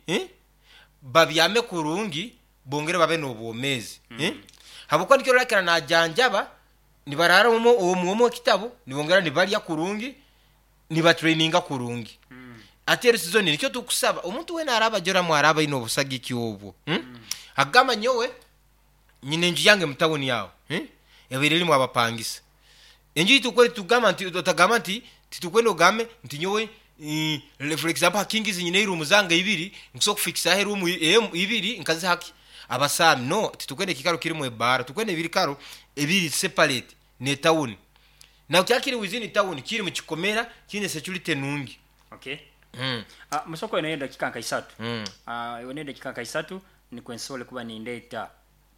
babyame kurungi, bongere babe n'obwomeezi. Ahabw'okuba nikyo orakira najanjaba Nibaraara omu omu ekitabo, nibongera nibarya kurungi, nibatraininga kurungi. Hati eri sizoni nikyo tukusaba omuntu weena araaba ajoramu araaba aine obusagiki obwo, akugamba nyowe nyine enju yange mu tawuni aho, ebaire erimu abapangisa. Enju ei tukore tugamba nti otagamba nti titukwenda ogambe nti nyowe for example ha Kings nyine eruumu zange ibiri nkusobora kufikisaho eruumu ibiri nkaziha ki? Abasaami, no, titukwenda ekiikaro kirimu ebaara, tukwenda ebikaro ebiri separate n'etawuni. Na kyaba kiri within town, kiri mu kikomera, kiine security nungi. Okay. Musoko oineyo edakika nka isatu. Oineyo edakika nka isatu nikwo nsobole kuba nindeeta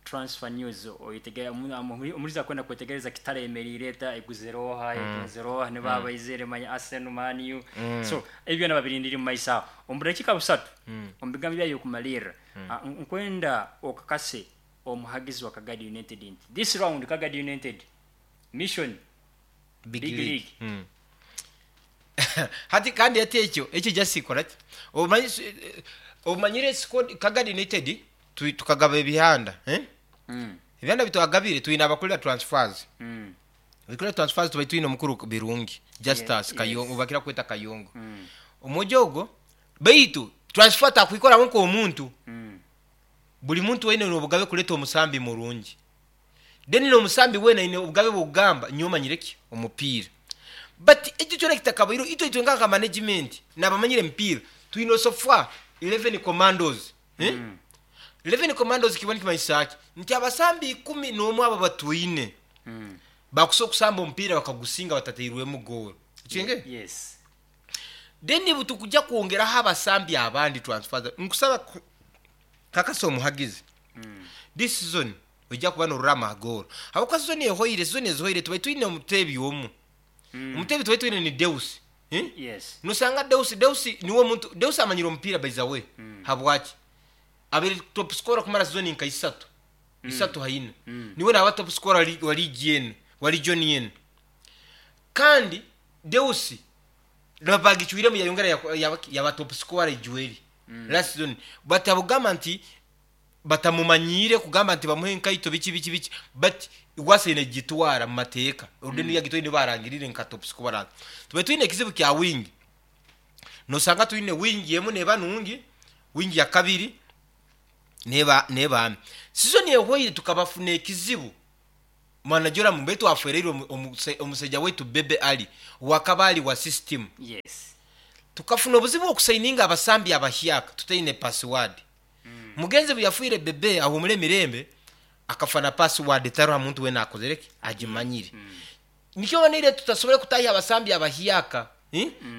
transfer news oyetegere omuhuriza akwenda kwetegereza Kitara eyemereire eta, eguzire oha, etunzire oha, nibo abaizire manya Arsenal, Man U. So ebyo byona babirindire omu maiso aho. Omu budakiika busatu, omu bigambo byawe by'okumalirra, Nkwenda okakase omuhagizi wa Kagadi United nti this round Kagadi United mission Big Big League. League. Hati kandi hati ekyo ekyo just kora ki? Omanyi omanyire squad Kagadi United twi tukagaba ebihanda eh? Ebihanda bitwagabire twine abakurira transfers. Abakurira transfers tubaire twine omukuru Birungi Justus Kayongo bakira kweta Kayongo. Omwojo ogwo Baitu transfer takwikoraho nk'omuntu. Buri muntu weena aine obugabe kureeta omusambi murungi. Then n'omusambi weena aine obugabe bw'okugamba nyowe manyire ki? Omupiira. But ekyo kyona kitakabaireho, itwe itwe nka management n'abamanyire emipiira, twine so far 11 commandos. 11 commandos kiba nikimanyisa ki? Nti abasambi 11 abo abatwine bakusobola kusamba omupiira bakagusinga batatairwemu goal. Okigengere? Yes. Then obu tukuja kwongeraho abasambi abandi transfers nkusaba kakasa omuhagizi this season oija kuba norora amagoolo ahabwokuba season ehoire season ezihoire tubaire twine omuteebi omu omuteebi tubaire twine ni Deus Yes. nosanga Deus Deus niwe omuntu Deus amanyire omupiira by the way habwaki abaire top scorer kumara season nka isatu isatu haina niwe naba top scorer wa league enu wa region enu kandi Deus Bagicwiremu yayongera yaba top scorer ijweri last season batabugamba nti batamumanyiire kugamba nti bamuhe enkaito biki biki biki but Rwasa aine kugitwara mu mateeka orudi niyo yagitwaire niyo barangiriire nka top scorer. Tubaire twine ekizibu kya wing nosanga twine wing emu neba nungi wing ya kabiri neba neba mbi. Season ehweire tukabafuna ekizibu. Mwana Joram mbe twafereirwe omusaija waitu Bebe Ali owakaba ali wa system. Yes. Tukafuna obuzibu okusayininga abasambi abahyaka tutaine password. Mugenzi buyafwire Bebe ahumure emirembe akafa na password etaroho muntu wena akozire ki? Agimanyire. Nikyo oboneire tutasobole kutahya abasambi abahyaka.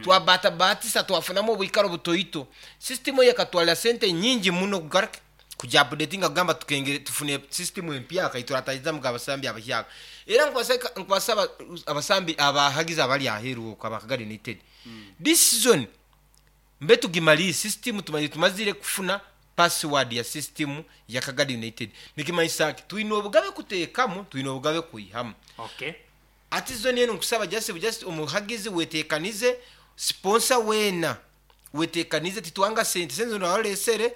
Twabatabatisa twafunamu obwikaro butoito. System eyo ekatwalira sente nyingi muno kugaruka kugi updatinga kugamba tukengere tufune system empyaka eyituratahizamu abasambi abahyaka. Era nkubasaba abasambi abahagizi abali aheru okwo aba Kagadi United, this season mbe tugimalire system tumazire kufuna password ya system ya Kagadi United. Nikimanyisa ki? Twine obugabe kutekamu, twine obugabe kwihamu. Okay. Hati season enu nkusaba just just omuhagizi wetekanize, sponsor weena wetekanize titwanga sente, sente zona oralesere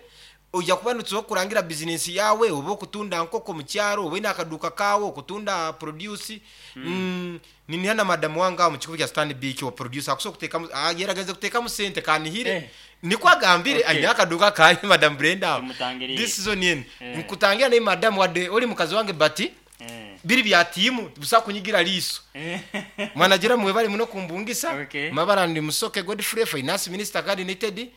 oija kuba nitusobola kurangira business yaawe oba okutunda nkoko omukyaro oba oine akaduuka kaawe okutunda produce. Niniha na madamu wange aho mukikubi kya Stanbic wa produce akusobola kutekamu yeragenze kutekamu sente kanihire nikwo agambire aine akaduuka kaye madam Brenda aho. This season enu nkutangira naye madamu wadde ori mukazi wange but Biri bya tiimu busa kunyigira riiso. Mwana Joram webale muno kumbungisa. Mabara ndi Musoke Godfrey, Finance Minister Kagadi United.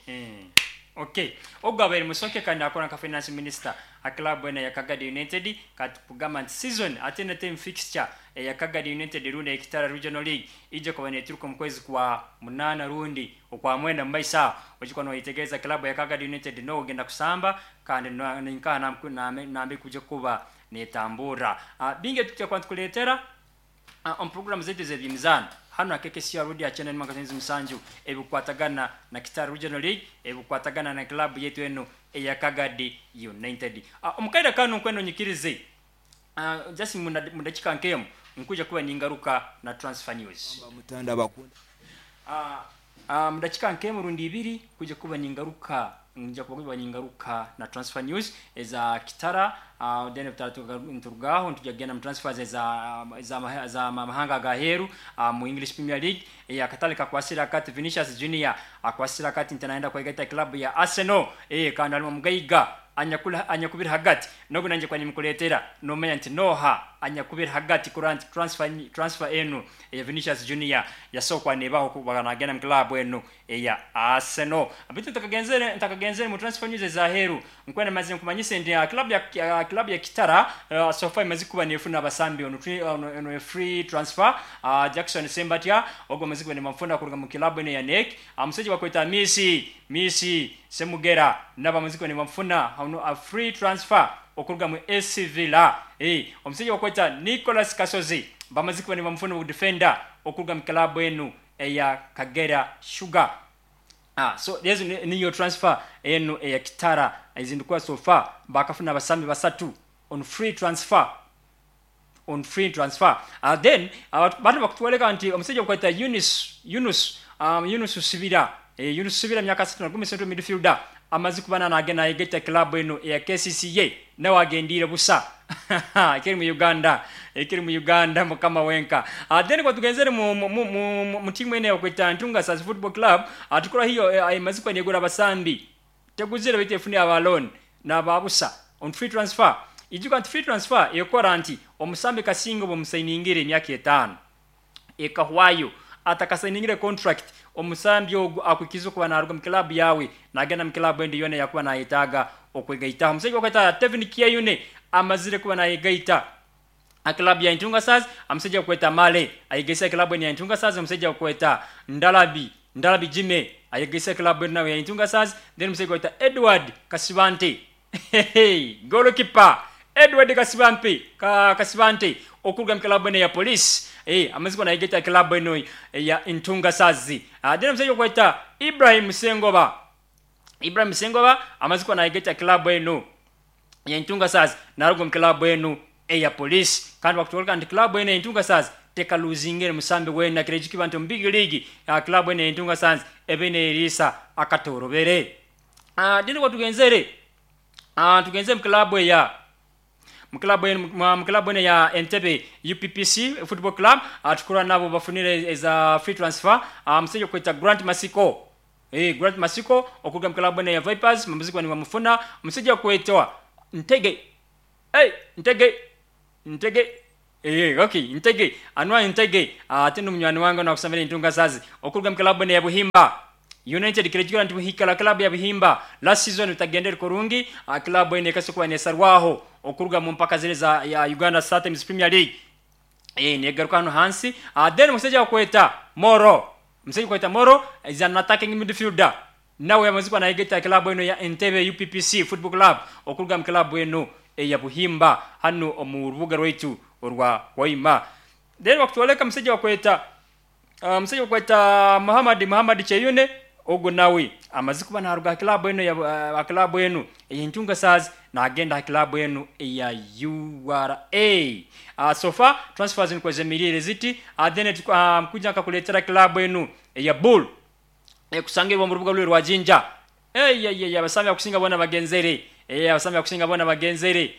Okay. Ogu abaire Musoke kandi akora nka Finance Minister ha club enu eya Kagadi United kati kugamba nti season ate na team fixture eya Kagadi United rundi eya Kitara Regional League ija kuba neturuka omu kwezi kwa munana rundi okwa mwenda omu maiso aho. Oija kuba noyetegereza club eya Kagadi United noha ogenda kusamba kandi ninkaha nambere kuija kuba netamburra. Bingi ebitukuja kuba nitukuleetera omu puroguramu zaitu ez'eby'emizaano hanu ha KKCR Radio ha kyenda n'emwe akasonyizi musanju ebikukwatagana na Kitara Regional League, ebikukwatagana na club yaitu enu eya Kagadi United. Omu kaire kanu nkwenda onyikirize just mu dakiika nk'emu nkwija kuba ningaruka na transfer news. Mu dakiika nk'emu rundi ibiri kwija kuba ningaruka nja kuba ningaruka na transfer news eza Kitara then nituruga aho nitujya kugenda mu transfers eza eza amahanga agaheru mu English Premier League akatale kakwasire akati Vinicius Junior akwasire akati nti nayenda kwegaita club ya Arsenal kandi alimu omugaiga anyakubiri hagati nogu nangye kuba nimukuleetera nomanya nti noha anyakubiri hagati kurora nti transfer transfer enu eya Vinicius Junior yasobola kuba nebaho kuba nagenda mu club enu eya Arsenal. Beitu ntakagenzere ntakagenzere mu transfer news ezaheru nkwenda maze nkumanyise nti club ya club ya Kitara so far emaze kuba nefuna abasambi ono ono free transfer Jackson Sembatya ogwo amaze kuba nibamufuna kuruga mu club enu eya NEC omusaija bakweta Misi Misi Semugera nabo bamaze kuba nibamufuna ono a free transfer okuruga mu SC Villa. Omusaija bakweta Nicholas Kasozi bamaze kuba nibamufuna obu defender okuruga mu club enu eya Kagera Sugar. So ezo niyo transfer enu eya Kitara ezindikuba so far bakafuna abasambi basatu on free transfer. On free transfer. Then banu bakutwoleka nti omusaija bakweta Yunus Yunus Yunus Sibira Yunus Sibira myaka 31 central midfielder amaze kuba nagenda nayegaita club enu eya KCCA nawe agendiire busa ekiri mu Uganda ekiri mu Uganda mukama wenka. Then kuba tugenzere mu, mu, mu, mu, mu tiimu enu ebakweta Ntunga Stars Football Club tukora hiyo emaze kuba negura abasambi teguzire baitu efune aba loan naba busa on free transfer. Ijuka nti free transfer ekora nti omusambi kasinga obu omusainingire emyaka etaano ekahwayo atakasainingire contract omusambi ogu akwikiza okuba naruga mu club yawe nagenda mu club endi yoona eyakuba nayetaaga okwegaitaho. Omusaija bakweta Tevin Kyeyune amazire kuba nayegaita ha club ya Ntunga Stars, omusaija bakweta Male ayegaise club enu ya Ntunga Stars, omusaija bakweta Ndalabi Ndalabi Jimmy ayegaise club enu nawe ya Ntunga Stars, then omusaija bakweta Edward Kasibante goalkeeper Edward Kasibampe ka Kasibante okuruga mu club enu eya Police amaze kuba nayegaita club enu eya Ntunga Stars. Then omusaija bakweta Ibrahim Sengoba Ibrahim Sengoba amaze kuba nayegaita club enu eya Ntunga Stars naruga omu club enu eya Police kandi bakutwoleka nti club enu eya Ntunga Stars tekaluzingire musambi weena kirejukiba nti omu big league club enu eya Ntunga Stars ebe neriisa akatorobere. Then obu tugenzere tugenzere mu club eya mu club enu mu club enu eya Entebbe UPPC Football Club tukurora nabo bafunire eza free transfer omusaija okweta Grant Masiko Grant Masiko okuruga mu club enu eya Vipers bamaze kuba nibamufuna omusaija okwetwa Ntege Ntege Ntege Eh, okay, Ntege, Anwar Ntege, ate n'omunywani wange nakusomera entunga sazi okuruga mu club eno ya Buhimba United kirejukira nti buhikala club ya Buhimba last season utagendere kurungi, club eno ekase kuba nesarwaho okuruga mu mpaka zile za ya Uganda Star Times Premier League. Negaruka hano hansi. Then musajja wakweta Moro, musajja wakweta Moro is an attacking midfielder, nawe yamaze kuba nayegeta club eno ya Entebbe UPPC Football Club okuruga mu club eno eya Buhimba hano omu rubuga rwaitu orwa Waima. Then bakutwoleka musajja wakweta Muhammad Cheyune, ogo nawe amaze kuba naruga club eno ya club eno ey'entunga sazi nagenda club eno eya URA. So far transfers niko zemirire ziti. Then mkuja akakuletera club eno eya Bull ekusangirwa mu rubuga lwe rwa Jinja. Abasambi akusinga bona bagenzere. Abasambi akusinga bona bagenzere.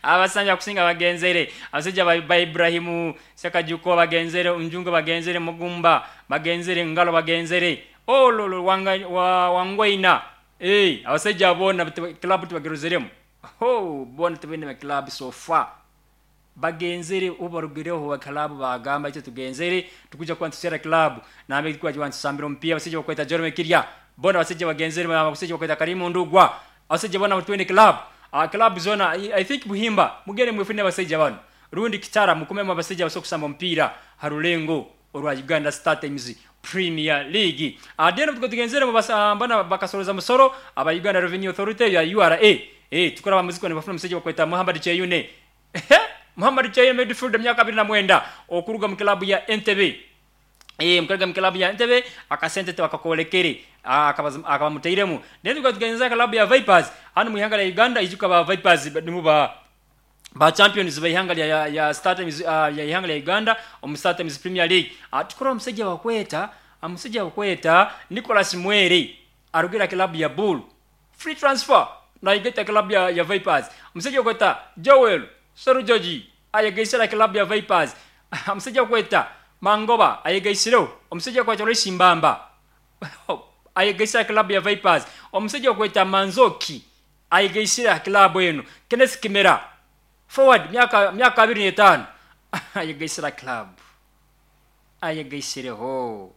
Abasambi akusinga bagenzere. Abasajja ba Ibrahimu Sekajuko bagenzere, Unjungo bagenzere, Mugumba bagenzere, Ngalo bagenzere. Ololo wangwaina. Abasajja bona club tubagerozeremu. Ho, bona tubene club so far. Bagenzere ubarugireho wa club bagamba icyo tugenzere tukuja kwa ntusera club nambe kwa ntusambira mpia abasajja bakweta Jerome Kirya bona abasajja bagenzere abasajja bakweta Karimu Ndugwa abasajja bona twende club. Club zona I think Buhimba mugere mwefune abasajja bano rundi Kitara mukumemo abasajja basokusamba mpira harulengo orwa Uganda Star Times Premier League. Then tugenzere mbona bakasoroza musoro aba Uganda Revenue Authority ya URA. Tukora bamuziko ne bafuna musajja bakweta Muhammad Cheyune. Muhammad Cheyune midfielder myaka 29 okuruga mu club ya Entebbe. Mukaruga mu club ya Entebbe akasente bakakolekere akabamuteiremu. Then tukagenza club ya Vipers hano mu ihanga lya Uganda ijuka ba Vipers nimu ba champions ba ihanga ya Star Times ya ihanga lya Uganda omu Star Times Premier League. Tukora omusajja wakweta Nicholas Mwere arugira club ya Bull free transfer na igeta club ya Vipers. Omusajja wakweta Joel Sarujoji ayegeisera club ya Vipers. Omusajja wakweta Mangoba ayegeisero. Omusajja wakweta Loisi Mbamba ayegeisera club ya Vipers. Omusajja wakweta Manzoki ayegeisera club eno. Kenneth Kimera forward myaka 25 ayegeisera club. Ayegeisireho.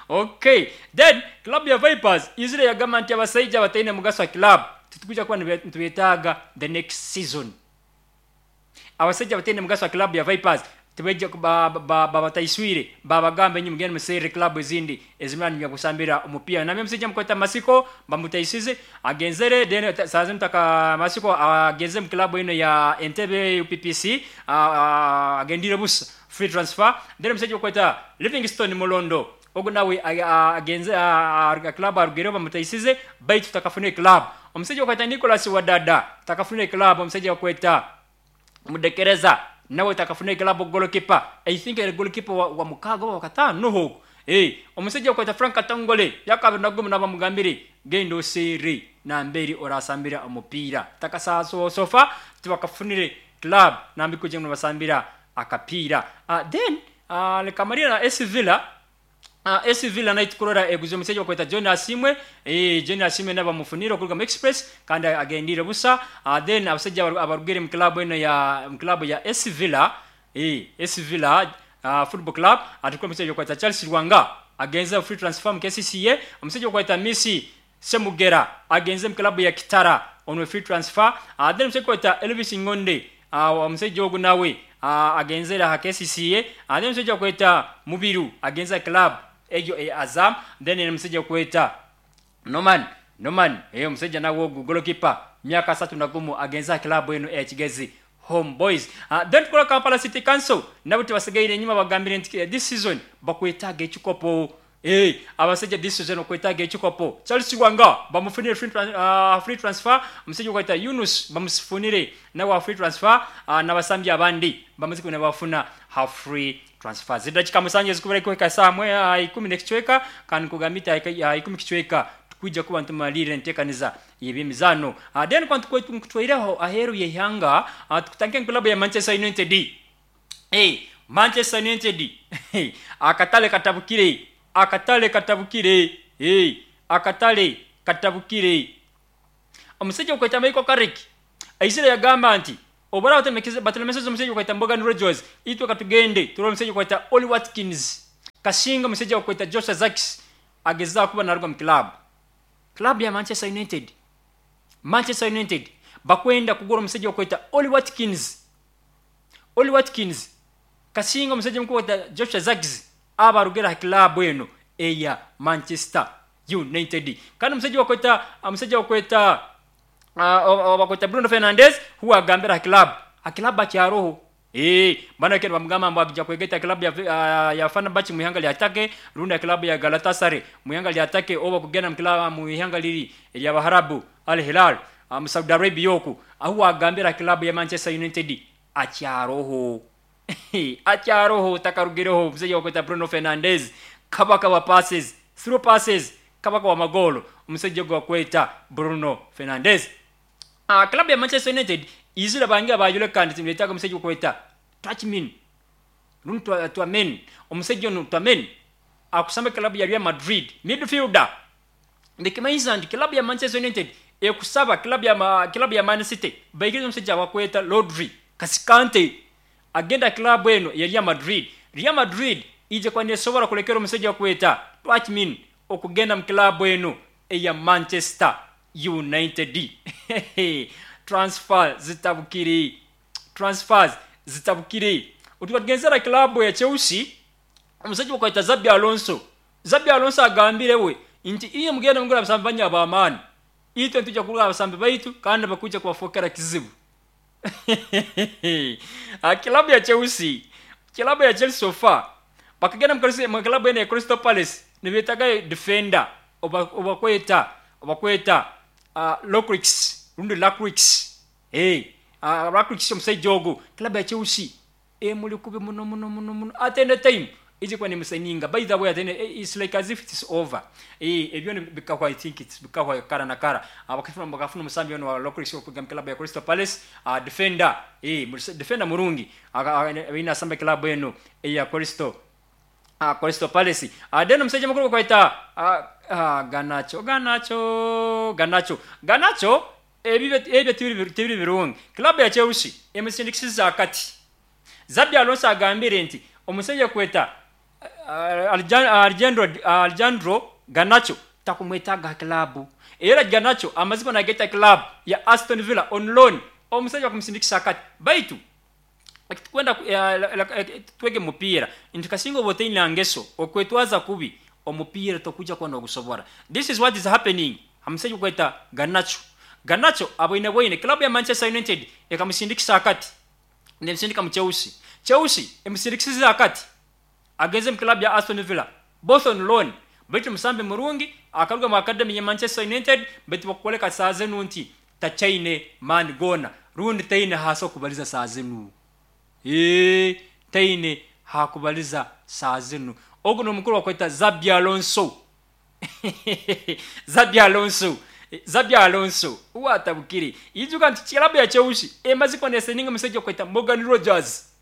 Okay, then club ya Vipers izire yagamba nti abasajja bataine mugaso wa club tutukuja kuba nitubetaaga the next season. Abasajja bataine mugaso wa club ya Vipers tubeje babataiswire babagambe nyi mugende musere club ezindi ezimani ya kusambira omupira. Namye musajja mukweta Masiko bamutaisize agenzere then saze mutaka Masiko agenze mu club eno ya Entebbe UPPC agendire busa free transfer. Then musajja mukweta Livingstone Mulondo ogo nawe agenze club arugero bamutaisize baitu takafune club. Omusajja wakweta Nicholas Wadada takafune club. Omusajja wakweta Mudekereza nawe takafune club goalkeeper. I think a goalkeeper wa mukaga wa katano huko. Omusajja wakweta Frank Katongole yakabiri nagumu nabamugambire gendo siri na mberi orasambira omupira takasa sofa tubakafunire club nambi kuje mu basambira akapira. Then lekamarira na SC Villa. SC Villa night kurora eguze omusajja wakweta John Asimwe. John Asimwe naba mufuniro kuruga mu Express kandi agendire busa. Then abasajja abarugere mu club eno ya mu club ya SC Villa. SC Villa Football Club atukwa omusajja wakweta Charles Rwanga agenze free transfer mu KCCA. Omusajja wakweta Messi Semugera agenze mu club ya Kitara on free transfer. Then omusajja wakweta Elvis Ngonde omusajja ogu nawe agenzera ha KCCA. Then omusajja wakweta Mubiru agenza club ejo Azam. Then omusajja wakweta Norman omusajja nawe goalkeeper myaka 31 agenza club eno ya Kigezi Home Boys. Then tukola Kampala City Council nabo tebasigaire nyuma bagambire nti this season bakwetaaga ekikopo. Abasajja this season okwetaaga ekikopo. Charles Wanga bamufunire free transfer. Omusajja wakweta Yunus bamufunire nawe free transfer. N'abasambi abandi bamaze kuna bafuna ha free transfer. Zidakika musanju zikubera kweka saa mwe 10 n'ekicweka kandi kugamita 10 kicweka kuja kuba ntumalire ntekaniza y'emizano. Then kwa tukutwaireho aheru y'ihanga tukutanke club ya Manchester United. Manchester United akatale katabukire. Akatale katabukire. Omusajja okweta Michael Carrick aisira yagamba nti Obu baraba batalemeseze omusaija okweta Morgan Rogers, itwe katugende turole omusaija okweta Ollie Watkins. Kasinga omusaija okweta Joshua Zirkzee agezaho kuba naruga mu club. Club ya Manchester United. Manchester United bakwenda kugura omusaija okweta Ollie Watkins. Ollie Watkins kasinga omusaija omukuru okweta Joshua Zirkzee aba arugire aha club eno eya Manchester United. Kandi omusaija okweta omusaija okweta Bakweta Bruno Fernandes huwe agambire aha club ha club akyaroho. Eeh banu bakenda bamugamba mbu agya kwegaita ha club ya Fenerbahce mu ihanga lya Turkey rundi ha club ya Galatasaray mu ihanga lya Turkey oba kugenda mu club mu ihanga liri erya Baharabu Al Hilal mu Saudi Arabia oku. Ahu agambire ha club ya Manchester United akyaroho. Akyaroho takarugireho omusaija bakweta Bruno Fernandes kabaka wa passes, through passes, kabaka wa magoolo omusaija ogu bakweta Bruno Fernandes. Club ya Manchester United izire bangira bayoleka nti nibetaaga omusaija okweta Tchouamen rundi Tchouameni. Omusaija onu Tchouameni akusamba club ya Real Madrid midfielder. Nikimanyisa nti club ya Manchester United ekusaba club ya club ya Man City baikirize omusaija bakweta Rodri Kasikante agenda club eno ya Real Madrid. Real Madrid ije kuba nesobora kulekera omusaija bakweta Tchouameni okugenda mu club eno eya Manchester United. Transfer zitabukire. Transfers zitabukire. Otuba tugenzera club ya Chelsea omusaija bakweta Xabi Alonso. Xabi Alonso agambire we nti iye mugenda mugura abasambi banyu ab'amaani, itwe nitwija kugura abasambi baitu kandi bakwija kubafokera kizibu. Club ya Chelsea, club ya Chelsea so far bakagenda mu club eno ya Crystal Palace nibetagayo defender obakweta obakweta Locrix rundi Lacrix. Lacrix omusaija ogu club ya Chelsea emuli kubi muno muno muno muno at any time ije kuba nemusayininga. By the way, at any, it's like as if it's over. Ebyo bikahwa, I think it's bikahwa kara na kara. Bakafuna omusambi ono wa Lacrix okuga mu club ya Crystal Palace, defender, defender murungi aine asamba club eno eya Crystal Crystal Palace. Then omusajja mukuru bakweta Garnacho, Garnacho, Garnacho, Garnacho ebyo tibiri birungi. Club ya Chelsea emusindikisiza akati. Xabi Alonso agambire nti omusajja kweta Alejandro Garnacho takumwetaaga club. Era Garnacho amazima nageta club ya Aston Villa on loan. Omusajja kumusindikisa akati. Baitu kwenda twege mupiira nti kasinga oba otaine ngeso okwetwaza kubi omupiira tokuja kuba nogusobora. This is what is happening. Omusajja kweta Garnacho. Garnacho aboine bwoine club ya Manchester United ekamusindikisa akati. Nemusindika mu Chelsea. Chelsea emusindikisiza akati. Agenze mu club ya Aston Villa. Both on loan. Baitu musambi murungi akaruga mu academy ya Manchester United baitu bakukoleka saa zinu nti tachaine man gona rundi taine hasa okubaliza saa zinu. Taine hakubaliza saa zinu. Ogu n'omukuru bakweta Xabi Alonso. Xabi Alonso. Xabi Alonso uwatabukire. Ijuka nti club ya Chelsea emaze kuba nesayininga omusajja okweta Morgan Rogers.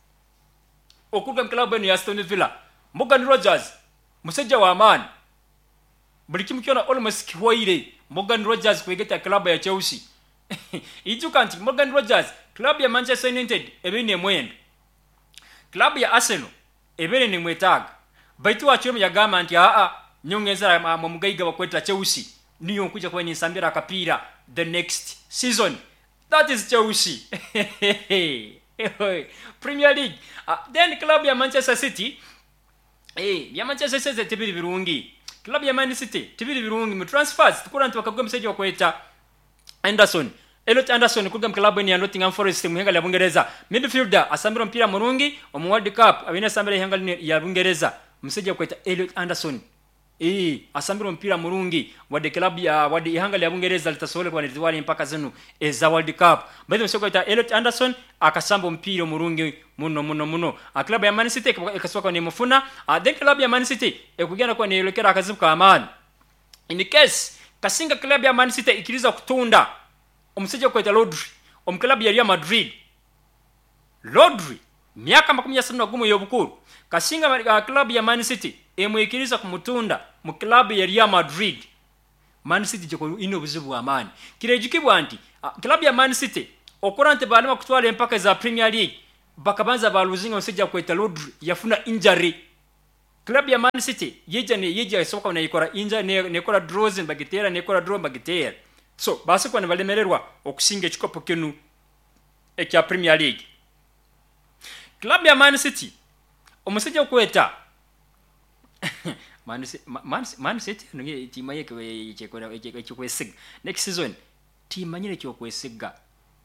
Okuruga mu club eno ya Aston Villa. Morgan Rogers musajja wa maani. Buli kimu kyona almost kihwaire Morgan Rogers kwegeta club ya Chelsea. Ijuka nti Morgan Rogers club ya Manchester United ebaine emwenda. Club ya Arsenal ebere nemwetaaga. Baitu wakiremu yagamba nti aa nyongeza mu mugaiga bakweta Chelsea niyo nkuja kuba ninsambira akapiira the next season. That is Chelsea. Premier League. Then club ya Manchester City, ya Manchester City tibiri birungi. Club ya Man City tibiri birungi mu transfers tukura nti bakagwa omusajja bakweta Anderson. Elliot Anderson kuruga mu club ya Nottingham Forest mu ihanga lya Bungereza. Midfielder asambira omupiira murungi omu World Cup abine asambira ihanga lya Bungereza. Omusajja bakweta Elliot Anderson. Asambira omupiira murungi wadde club ya wadde ihanga lya Bungereza litasobole kuba nilitwala empaka zinu eza World Cup. Baitu omusajja bakweta Elliot Anderson akasamba omupiira omurungi muno muno muno. Club ya Man City ekasoboka nemufuna. Then club ya Man City ekugenda kuba neyolekera akazibu k'amaani. In case kasinga club ya Man City ikiriza kutunda omusajja bakweta Rodri omu club ya Real Madrid. Rodri myaka 31 y'obukuru kasinga club ya Man City emwikiriza kumutunda mu club ya Real Madrid. Man City gye ine obuzibu bw'amaani. Kirejukibwa nti club ya Man City Okora nti baalema kutwara empaka eza Premier League, bakabanza baaluzinga omushaija akweta Rodri yafuna injury. Club ya Man City yaija yaija esoboka neekora injury neekora draws nibagiteera neekora draw nibagiteera. So babaasa kuba nibalemererwa okusinga ekikopo kinu ekya Premier League. Club ya Man City omushaija okweta Man City enu timanyire eky'okwesiga. Next season timanyire eky'okwesiga.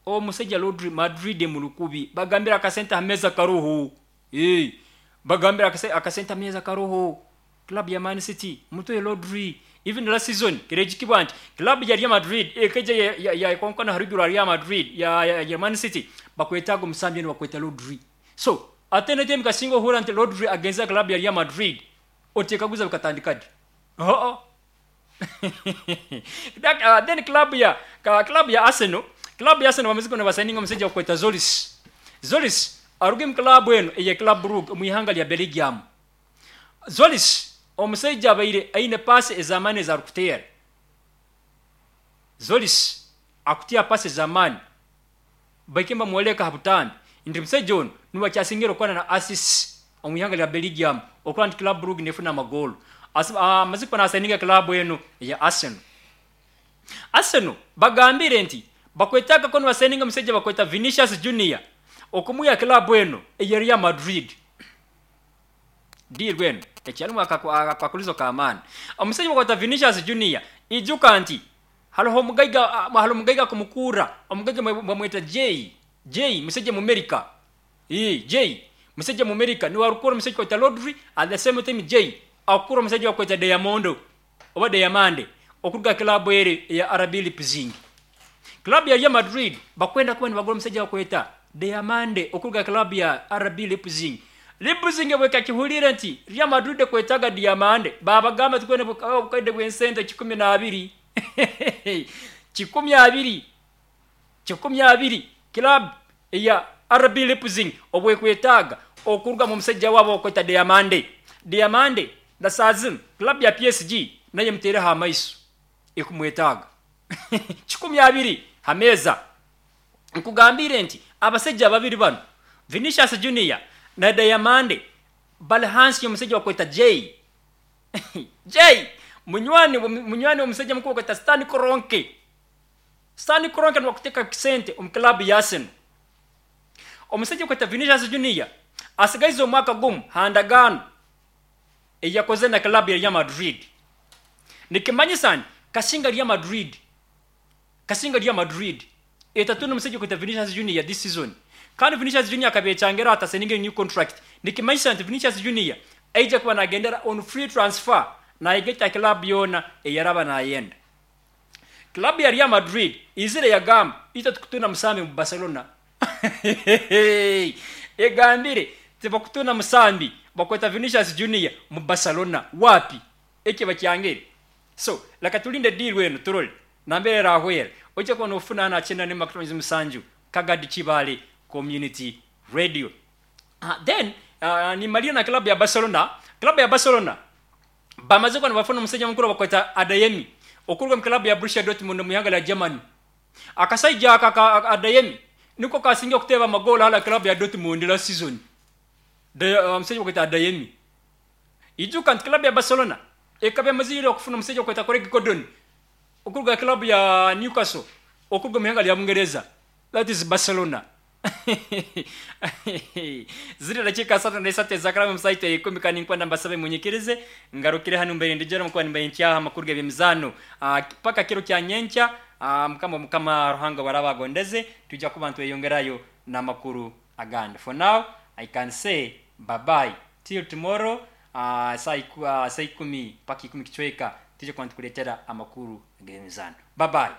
Omushaija Rodri Madrid emuri kubi bagambire akasente aha meeza karoho. Eeh bagambire akasente aha meeza karoho. Club ya Man City mutohe Rodri. Even last season kireijukibwa nti club ya Real Madrid ekaija yakonkona aharuguru aha Real Madrid ya Man City bakwetaaga omusambi onu bakweta Rodri. So ate n'etaimu kasinga ohurra nti Rodri agenzire aha club ya Real Madrid otekaguza bikatandika di? Haa. Then club ya club ya Arsenal, club ya Arsenal bamaze kuba nibasayininga omusaija bakweta Zolis. Zolis aruga omu club enu eya Club Brugge omu ihanga lya Belgium. Zolis omusaija abaire aine paasi ez'amaani ezi arikuteera. Zolis akuteera paasi ez'amaani. Bahike nibamworeka aha butambi nti omusaija onu niwe akyasingire okukora na assists omu ihanga lya Belgium okurora nti Club Brugge nefuna amagoolo. Amazire kuba nasayininga club enu eya Arsenal. Arsenal bagambire nti bakwetaaga kuba nibasayininga omusaija bakweta Vinicius Junior okumwiha club enu eya Real Madrid. Deal enu ekyarimu akakwakurizo k'amaani. Omusaija bakweta Vinicius Junior ijuka nti Hariho omugaiga hariho omugaiga akumukuura, omugaiga bamweta Jay, Jay mushaija Mumerika, ii Jay mushaija Mumerika niwe arikukuura omushaija orikwetwa Rodri at the same time Jay akukuura omushaija orikwetwa Diamondo oba Diamande okuruga aha club eri eya RB Leipzing. Club ya Real Madrid bakwenda kuba nibagura omushaija orikwetwa Diamande okuruga aha club ya RB Leipzing. Leipzig obu ekakihuriire nti Real Madrid ekwetaaga Diamande, baabagamba tikwenda obukaide bw'esente 12. 20, 20, club eya RB Leipzig obwekwetaaga okurugamu omusaija waabo owukweta Diamande. Diamande na saaha zinu club ya PSG nayo emuteireho amaiso ekumwetaaga. 20 ha meeza. Nkugambiire nti abasaija babiri banu Vinicius Junior na Diamande bali hansi y'omusaija owukweta Jay. Jay, munywani munywani w'omusaija mukuru okweta Stan Kroenke. Stan Kroenke niwe akuteeka sente omu club ya Arsenal. Omusaija okweta Vinicius Junior asigaize omwaka gumu ha ndagaano ei yakozire na club ya Real Madrid. Nikimanyisa nti kasinga Real Madrid Kasinga Real Madrid etatunda omusaija okweta Vinicius Junior this season kandi Vinicius Junior akabecangera ati asayininge new contract nikimanyisa nti Vinicius Junior aija kuba nagendera on free transfer nayegeta club yoona eyaraba nayenda. Club ya Real Madrid izire yagamba itwe tukutunda musambi mu Barcelona egambire tibakutunda musambi bakweta Vinicius Junior mu Barcelona wapi Eki bakyangire. So, leka tulinde deal enu turole nambere erahwera. Oija kuba nofuna hanu aha 97 Kagadi Kibaale Community Radio. Then nimalira na club ya Barcelona. Club ya Barcelona bamaze kuba nibafuna omusaija mukuru bakweta Adeyemi okuruga omu club ya Borussia Dortmund omu ihanga rya Germany. Akasaija aka aka Adeyemi niko kasingire kuteeba amagoolo hali club ya Dortmund last season. Omusaija bakweta Adeyemi. Ijuka nti club ya Barcelona ekaba emazire ira okufuna omusaija okweta Craig Gordon okuruga aha club ya Newcastle okuruga omu ihanga rya Bungereza. That is Barcelona. Ziri dakiika 33 ezakaraba omu saaha itwe ikumi kandi ninkwenda mbasabe munyikirize ngarukire hanu mbaire ndijera omu kuba nimbaire nkyaha amakuru g'eby'emizaano paka kiro kya nyenkya Mukama Mukama Ruhanga obu araaba agondeze twija kuba nitweyongerayo n'amakuru agandi. For now I can say bye bye till tomorrow saaha ikumi paka ikumi kicweka twija kuba nitukureetera amakuru g'emizaano. Bye bye.